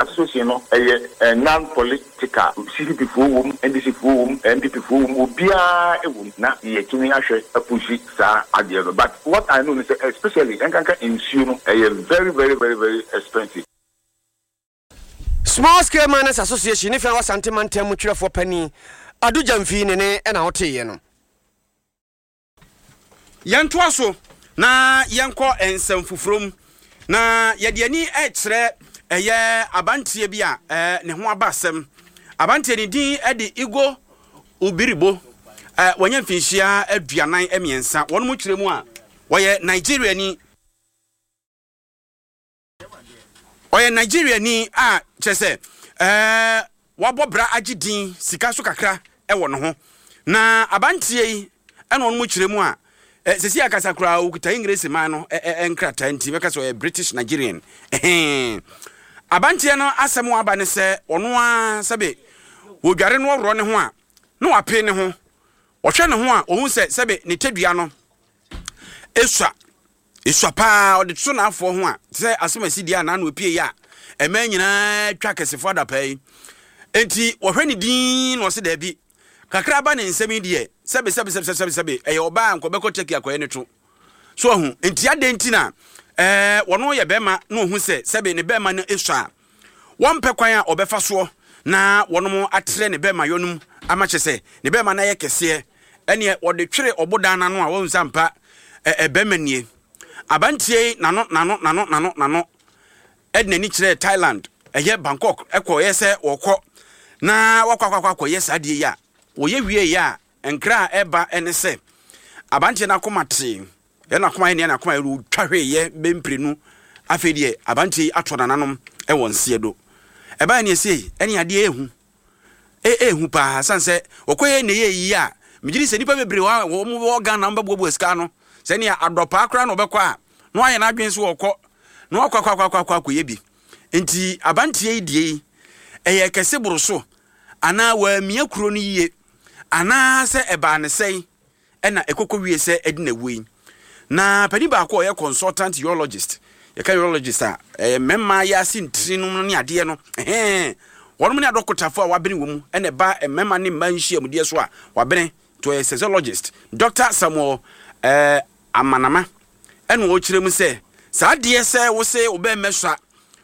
association no ɛyɛ non political CPP foɔ wom NDC foɔ wom NPP foɔ wom obiara wom na yɛtumi ahwɛ apushi saa adeɛ no but what I know ne sɛ especially ɛnkanka nsuo no ɛyɛ very very very very expensive. Small Scale Miners Association ne Fɛn Asante Mantam mu twerɛfoɔ panin Adu Gyamfi ne ne na woteeɛ no. Yɛntoa so na yɛnkɔ nsɛm foforɔ mu, na yɛde ani rekyerɛ ɛyɛ abanteɛ bi a ne ho aba asɛm. Abanteɛ ne din de Igor Ubiribo. Wanya mfinhyia 43. Wɔn mu kyerɛ mu a, wɔyɛ Nigeriani. Ɔyɛ Nigeriani a kyerɛ sɛ ɛɛ wabɔ bra agye din sika so kakra wɔ ne ho. Na abanteɛ yi ɛna ɔno mu kyerɛ mu a sɛsi akasa koraa ɔkuta English man no nkrataa nti bɛka sɛ ɔyɛ British Nigerian. Ɛhɛn. Abanteɛ no asɛm aba ne sɛ ɔno ara sɛbe wɔdware no ɔworɔ ne ho a na wape ne ho. Ɔhwɛ ne ho a ɔhu sɛ sɛbe ne tadua no esua. Esua paa, ɔde toto n'afoɔ ho a, te sɛ asɛm a ɛsi deɛ a n'ano apue yi a mmaa nyinaa twa akɛsefoɔ adapaa yi. Enti wɔhwɛ ne din na ɔse daabi. Kakra aba ne nsam yi deɛ, sɛbe sɛbe sɛbe sɛbe sɛbe, ɛyɛ ɔbaa a nka ɔbɛkɔ Turkey akɔyɛ ne to. So wahu? Enti adɛn nti na ɛɛ wɔno yɛ bɛrima na ɔhu sɛ sɛbe ne bɛrima no esua a, wɔmpɛ kwan a ɔbɛfa soɔ na wɔnom atrɛ ne bɛrima yɔ no mu ama kyɛ sɛ ne bɛrima no ayɛ kɛseɛ ɛneɛ wɔde twere ɔbodan no ano a wɔhu sɛ ampa ɛbɛrima nie. Abanteɛ yi nano nano nano nano nano ɛde n'ani kyerɛɛ Thailand ɛyɛ Bangkok ɛkɔyɛ sɛ wɔkɔ na wakɔ akɔ akɔ akɔyɛ saa adeɛ yi a wɔyɛ wie yɛ a nkra a ɛba ɛne sɛ abanteɛ no akoma tee Yɛ n'akoma yɛ nea n'akoma yɛ otwa hwee yɛ bɛ mprenu afei deɛ abanteɛ yi atɔ nananom wɔ nseɛ do. Ɛbaeɛ ne ɛsei ɛne adeɛ ɛhu ɛ ɛhu paa sane sɛ wɔkɔ yɛ ne yɛ yi a megye di sɛ nnipa bebree wɔ wɔn wɔ Ghana wɔn bɛboaboa sika ano sɛ nea adɔpaa koraa na ɔbɛkɔ a na wayɛ n'adwene so ɔkɔ na wakɔ akɔ akɔ akɔ akɔyɛ bi nti abanteɛ yi deɛ yi ɛyɛ kɛse boro so anaa wɔamia kuro no yie anaa sɛ ɛbaa ne sɛn na ɛkɔkɔ wie sɛ ɛde na awuo yi. Na panin baako a ɔyɛ consultant urologist, yɛka urologist a, ɛyɛ mmarima yɛ ase ntiri nom ne adeɛ no, ɛhɛn, wɔnom ne adɔkotafoɔ a wabene wɔ mu, ɛna ɛba mmarima ne mmaa nhyiamudeɛ so a wabene, nti ɔyɛ sexologist, Doctor Samuel eh, Amanama, ɛna ɔkyerɛ mu sɛ, saa adeɛ sɛ wo se wo bɛrima sua,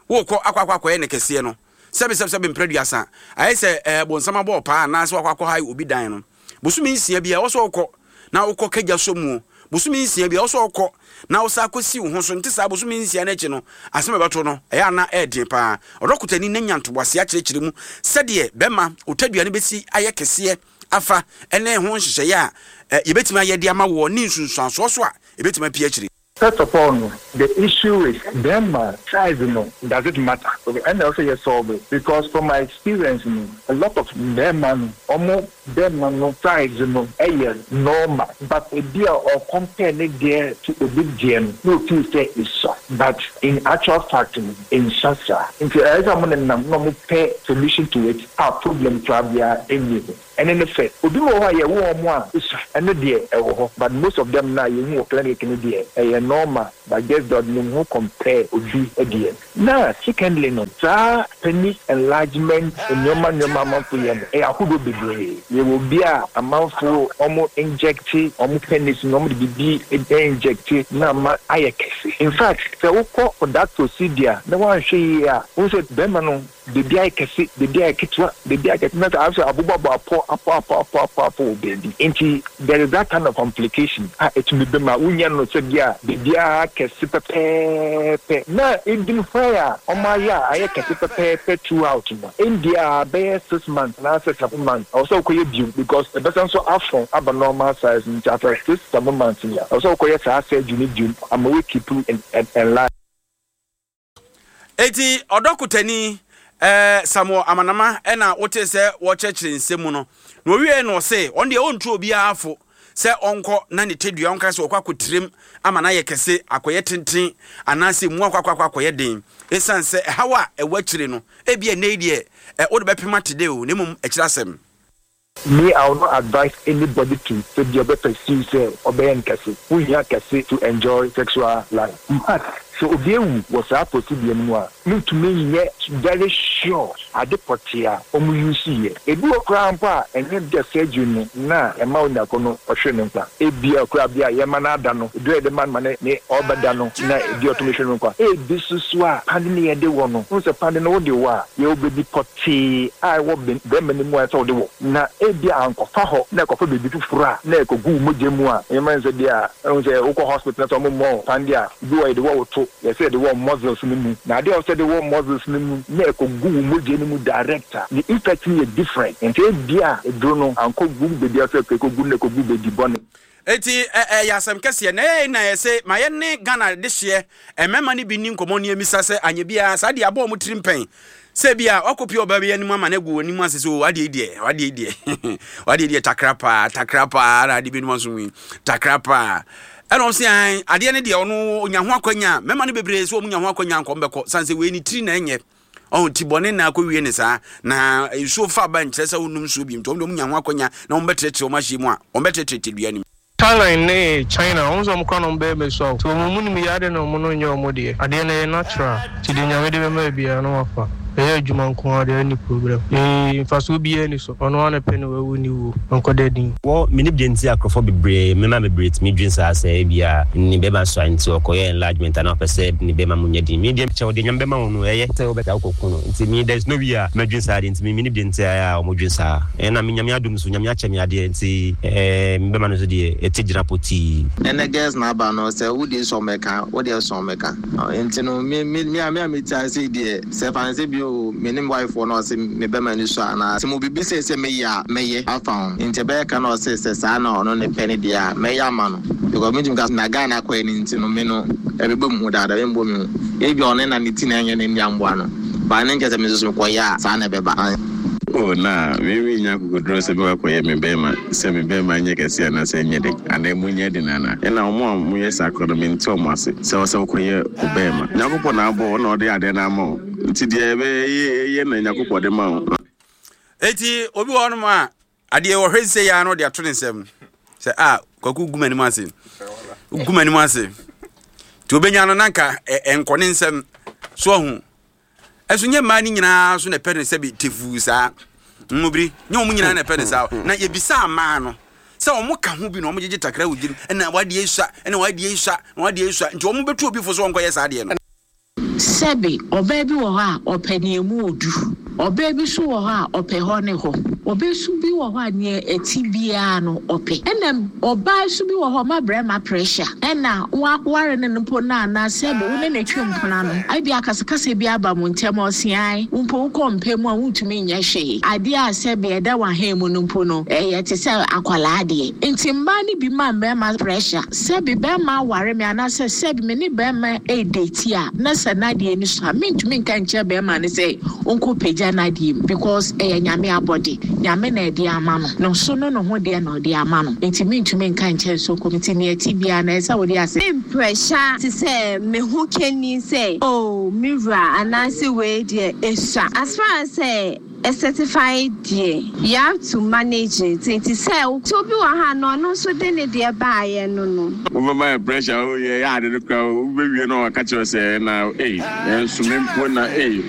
wokɔ akɔ akɔ akɔyɛ ne kɛseɛ no, sɛbe sɛbe sɛbe mprɛ aduasa, ayɛ sɛ eh, bonsam abɔ ɔpaa anaasɛ wakɔ akɔ hae obi dan no. Bosome nsia biara ɛwɔ sɛ ɔkɔ. na wokɔ ka gya sɔ muo. Bosome nsia biara, ɛwɔ sɛ wokɔ na wosan kɔsi wo ho so. Nte saa, bosome nsia no akyi no, asɛm a ɛbɛto no, ɛyɛ a na ɛyɛ den pa ara. Ɔdɔkotani no anya ntoboaseɛ akyerɛkyerɛ mu sɛdeɛ bɛma wo tadua no bɛsi ayɛ kɛseɛ afa ne ho nhyehyɛeɛ a yɛbɛtumi ayɛ de ama woɔ ne nsunsuansoɔ so a ɛbɛtumi apue akyire. First of all no the issue is bɛɛma size no does it matter okay ɛna ɛwɔ sɛ yɛ solve because from my experience no a lot of mbɛɛma no ɔmo bɛɛma no size no ɛyɛ normal but ebi a ɔ compare ne deɛ to obi deɛ no na o feel sɛ esua but in actual fact no ensua saa nti ɛyɛ sɛ ɔmo nenam na ɔmo pɛ solution to it a problem koraa biara nni ho. Ɛno ne fɛ. Obi wɔ hɔ a yɛwo wɔn a esua ɛno deɛ ɛwɔ hɔ but most of them no a yɛhu wɔ clinic no deɛ ɛyɛ normal but just that ne ho compare obi deɛ. Na secondly no saa penis enlargement nnoɔma nnoɔma amanfo yɛ no ɛyɛ ahodoɔ bebree. Yɛwɔ obi a amanfo wɔn inject wɔn penis no wɔn de biribi inject na ama ayɛ kɛse. In fact sɛ wokɔ for that procedure na woanhwɛ yie a wohu sɛ bɛrima no Baabi ayɛ kɛse, baabi ayɛ ketewa, baabi ayɛ kɛse, na sɛ ayɛ sɛ abobɔbɔ apɔ, apɔ, apɔ, apɔ, apɔ, apɔ wɔ baabi. Enti there is that kind of complication a ɛtumi ba mu a wonya no sɛ bi a baabiara kɛse pɛpɛɛpɛ. Na even hwan a wɔayɛ a ayɛ kɛse pɛpɛɛpɛ throughout no, ɛndeɛ a bɛyɛ 6 months anaasɛ 7 months, ɛwɔ sɛ wokɔyɛ bio because ɛbɛsan nso afɔn aba normal size. Nti after 6, 7 months no, ɛwɔ sɛ wokɔyɛ saa surgery no bio ama woakeep enlarged. Enti ɔdɔkotani eh, Samuel Amanama na wotee sɛ wɔkyerɛkyerɛ nsɛm mu no, na owiei no ɔse ɔno deɛ ɔntu obiara fo sɛ ɔnkɔ na ne tadua ɔnka sɛ ɔkɔ akɔtirim ama no ayɛ kɛse akɔyɛ tenten anaasɛ mu akɔ akɔ akɔ akɔyɛ den ɛsiane sɛ ɛhaw a ɛwɔ akyire no ebia nnɛ yi deɛ eh, wode bɛpem ate dɛ o na mmom akyire asɛm. Me I will not advise anybody to sɛ bia ɔbɛ pursue sɛ ɔbɛyɛ no kɛse, wo hia kɛse to enjoy sexual life. In fact sɛ obi awu wɔ saa procedure no mu a, me ntumi nyɛ very sure ade pɔtee a ɔmo use yɛ. Ebi wɔ koraa mpo a ɛnyɛ bia surgery no na ɛma oniako no ɔhwere ne nkwa. Ebia koraa bia yɛma no ada no, eduru a yɛde ma no ma ne ne ɔɔbɛda no na ebia ɔtumi hwere ne nkwa. Ebi nso so a pande no yɛde wɔ no, wohu sɛ pande no wode wɔ a yɛwɔ baabi pɔtee tee a ɛwɔ barima no mu a ɛsɛ sɛ wode wɔ, na ebia ankɔfa hɔ na ɛkɔfa baabi foforo a na ɛkɔgu wo mogya mu a, ɛnyɛ sɛ bi a wohu sɛ wokɔ hospital na sɛ wɔmmɔ wo paneɛ a, bi wɔ hɔ yɛde wɔ wo to, yɛsɛ yɛde wɔ muscles no mu, na adeɛ a ɛwɔ sɛ yɛde wɔ muscles no mu na ɛkɔgu wo mogya no mu direct a, ne effect no yɛ different. Nti ebia aduro no ankɔgu baabi a ɛsɛ sɛ ɛkɔgu no na ɛkɔgu baabi bɔne. Enti ɛyɛ asɛm kɛseɛ. Na ɛyɛ na yɛse ma yɛne Ghana dehyeɛ mmarima no bi nni nkɔmmɔ ne yɛmmisa sɛ anyɛ biara saa deɛ abɔ wɔn tirim pɛn sɛ bi a wakɔpie ɔbaa bi anim ama no agu wɔn anim ase sɛ o adeɛ yi deɛ adeɛ yi deɛ adeɛ yi deɛ takra paa takra paa na adeɛ bi anim aso yi takra paa ɛna wɔn sɛ an adeɛ no deɛ ɔno ɔnya ho akwanya mmarima no bebree sɛ wɔn nya ho akwanya nkɔm bɛkɔ san sɛ wei ne tiri na ɛnyɛ ɔho ti bɔne na akɔwie ne saa na nsuo fa ba nkyerɛ sɛ wonnom nsuo bi nti wɔn deɛ wɔn nya ho akwanya na wɔn bɛtrɛtrɛ wɔn ahyɛ mu a wɔn bɛtrɛtrɛ tedua no mu. Thailand ne China wɔn nso wɔn kora na wɔn bɛyɛ mɛsua o. Sɛ wɔn mu nim yɛ adeɛ na wɔn no nyɛ wɔn deɛ. Adeɛ no ɛyɛ natural nti deɛ Nyame de bɛma yɛ biara na wafa. Ɛyɛ adwuma nko ara deɛ ɛnni problem. Ee mfasoɔ biara nni so. Ɔno ara na ɛpɛ ne wawu ne wuo. Ɔnkɔda din. Wɔ mennim deɛ nti a nkurɔfoɔ bebree, mmarima bebree tumi dwen saa sɛ ebia ne bɛrima sua nti ɔkɔyɛ enlargement anaa ɔpɛ sɛ ne bɛrima mu nyɛ den. Me deɛ kyɛw deɛ Nyame bɛma wo no ɛyɛ sɛ wobɛtaa wokɔku no nti me there is no way a mɛdwen saa deɛ nti me mennim deɛ nti a ɛyɛ a wɔdwen saa. Ɛna me Nyame adom nso Nyame akyɛ me adeɛ nti eh me bɛrima no nso deɛ ɛte gyina potii. Ɛnɛ girls na aba no sɛ wode sɔ mɛka wodeɛ sɔ mɛka nti no me me me a me a mete ase yi deɛ sɛ fa no sɛ bi o me ne me wife wɔ na ɔse me bɛma ani sɔ anaa sɛ mo biribi sei sɛ meyɛ a mɛyɛ afa ho nti ɛbɛyɛ ka na ɔse sɛ saa na ɔno ne pɛ ne deɛ a mɛyɛ ama no because mentumi ka na guy no akɔyɛ no nti no me no ɛbɛbɔ me hu daadaa ɛmbɔ me hu ebia ɔno na ne ti na ɛnyɛ ne nea mboa no but ɛno nkyɛ sɛ me nso so mekɔyɛ a saa na ɛbɛba. Oh, na me mennya akokoduro sɛ mɛkɔ akɔyɛ me bɛɛma sɛ me bɛɛma nyɛ kɛseɛ anaasɛ ɛnyɛ den anaa ɛmu nyɛ den anaa? Ɛna wɔn a wɔyɛ saa koraa no mente wɔn ase sɛ ɛwɔ sɛ wokɔyɛ wo bɛɛma. Nyankopɔn na abɔ wo na ɔde adeɛ no ama wo nti deɛ ɛbɛyɛ yɛ na Nyankopɔn de ma wo. Enti obi wɔ hɔnom a adeɛ ɔhwɛ sɛ yɛ ano de ato ne nsam sɛ a kwaku gu m'anim ase gu m'anim ase nti obɛnya no na nka ɛnkɔ ne nsam so ahu ɛso nyɛ mmaa no nyinaa so na ɛpɛ ne sɛ bi tefuu saa mmobiri nyɛ wɔn nyinaa na ɛpɛ ne saa na yɛbisaa mmaa no sɛ wɔn ka ho bi na wɔn gyegye takra wɔ gyim ɛna wadeɛ sua ɛna wadeɛ sua na wadeɛ sua nti wɔn bɛtu obi fo so wɔn kɔyɛ saa adeɛ no. Sɛbe, ɔbaa bi wɔ hɔ a, ɔpɛ nea emu odu. Ɔbaa bi nso wɔ hɔ a, ɔpɛ hɔ ne hɔ. Ɔbaa su bi wɔ hɔ a neɛ ɛte biara no ɔpɛ. Ɛna ɔbaa su bi wɔ hɔ ɔma brɛma pressure. Ɛna woaware no no mpo no anaa sɛbe wo ne no twe mpena no, ebia akasakasa bi aba mo ntɛm a ɔse ae, wo mpo wokɔ mpa mu a wontumi nyɛ hwee. Adeɛ a sɛbe ɛda w'ahan mu no mpo no ɛyɛ te sɛ akwadaa deɛ. Nti mmaa no bi ma mmarima pressure. Sɛbe bɛrima aware me anaasɛ sɛbe me ne bɛrima redate a na sɛ n'adeɛ ani sɔ a mentumi nka nkyerɛ bɛrima no sɛ ɔnkɔ pagya n'adeɛ mu because ɛyɛ Nyame abɔde, Nyame na ɛde ama no, no so no ne ho deɛ na ɔde ama no nti mentumi nka nkyerɛ no sɛ ɔnkɔ mu nti nea ɛte biara no ɛsɛ sɛ wode ase. Me mprɛhyɛ te sɛ me ho kani sɛ oh me wura anaasɛ wei deɛ ɛsua as far as sɛ ɛcertify deɛ you have to manage it nti sɛ nti obi wɔ ha no ɔno nso de ne deɛ baayɛ no no. Wobɛma yɛ pressure o yɛyɛ ade no koraa o wobɛwie na waka kyerɛ wo sɛ na ei ɛnso me mpo na ei.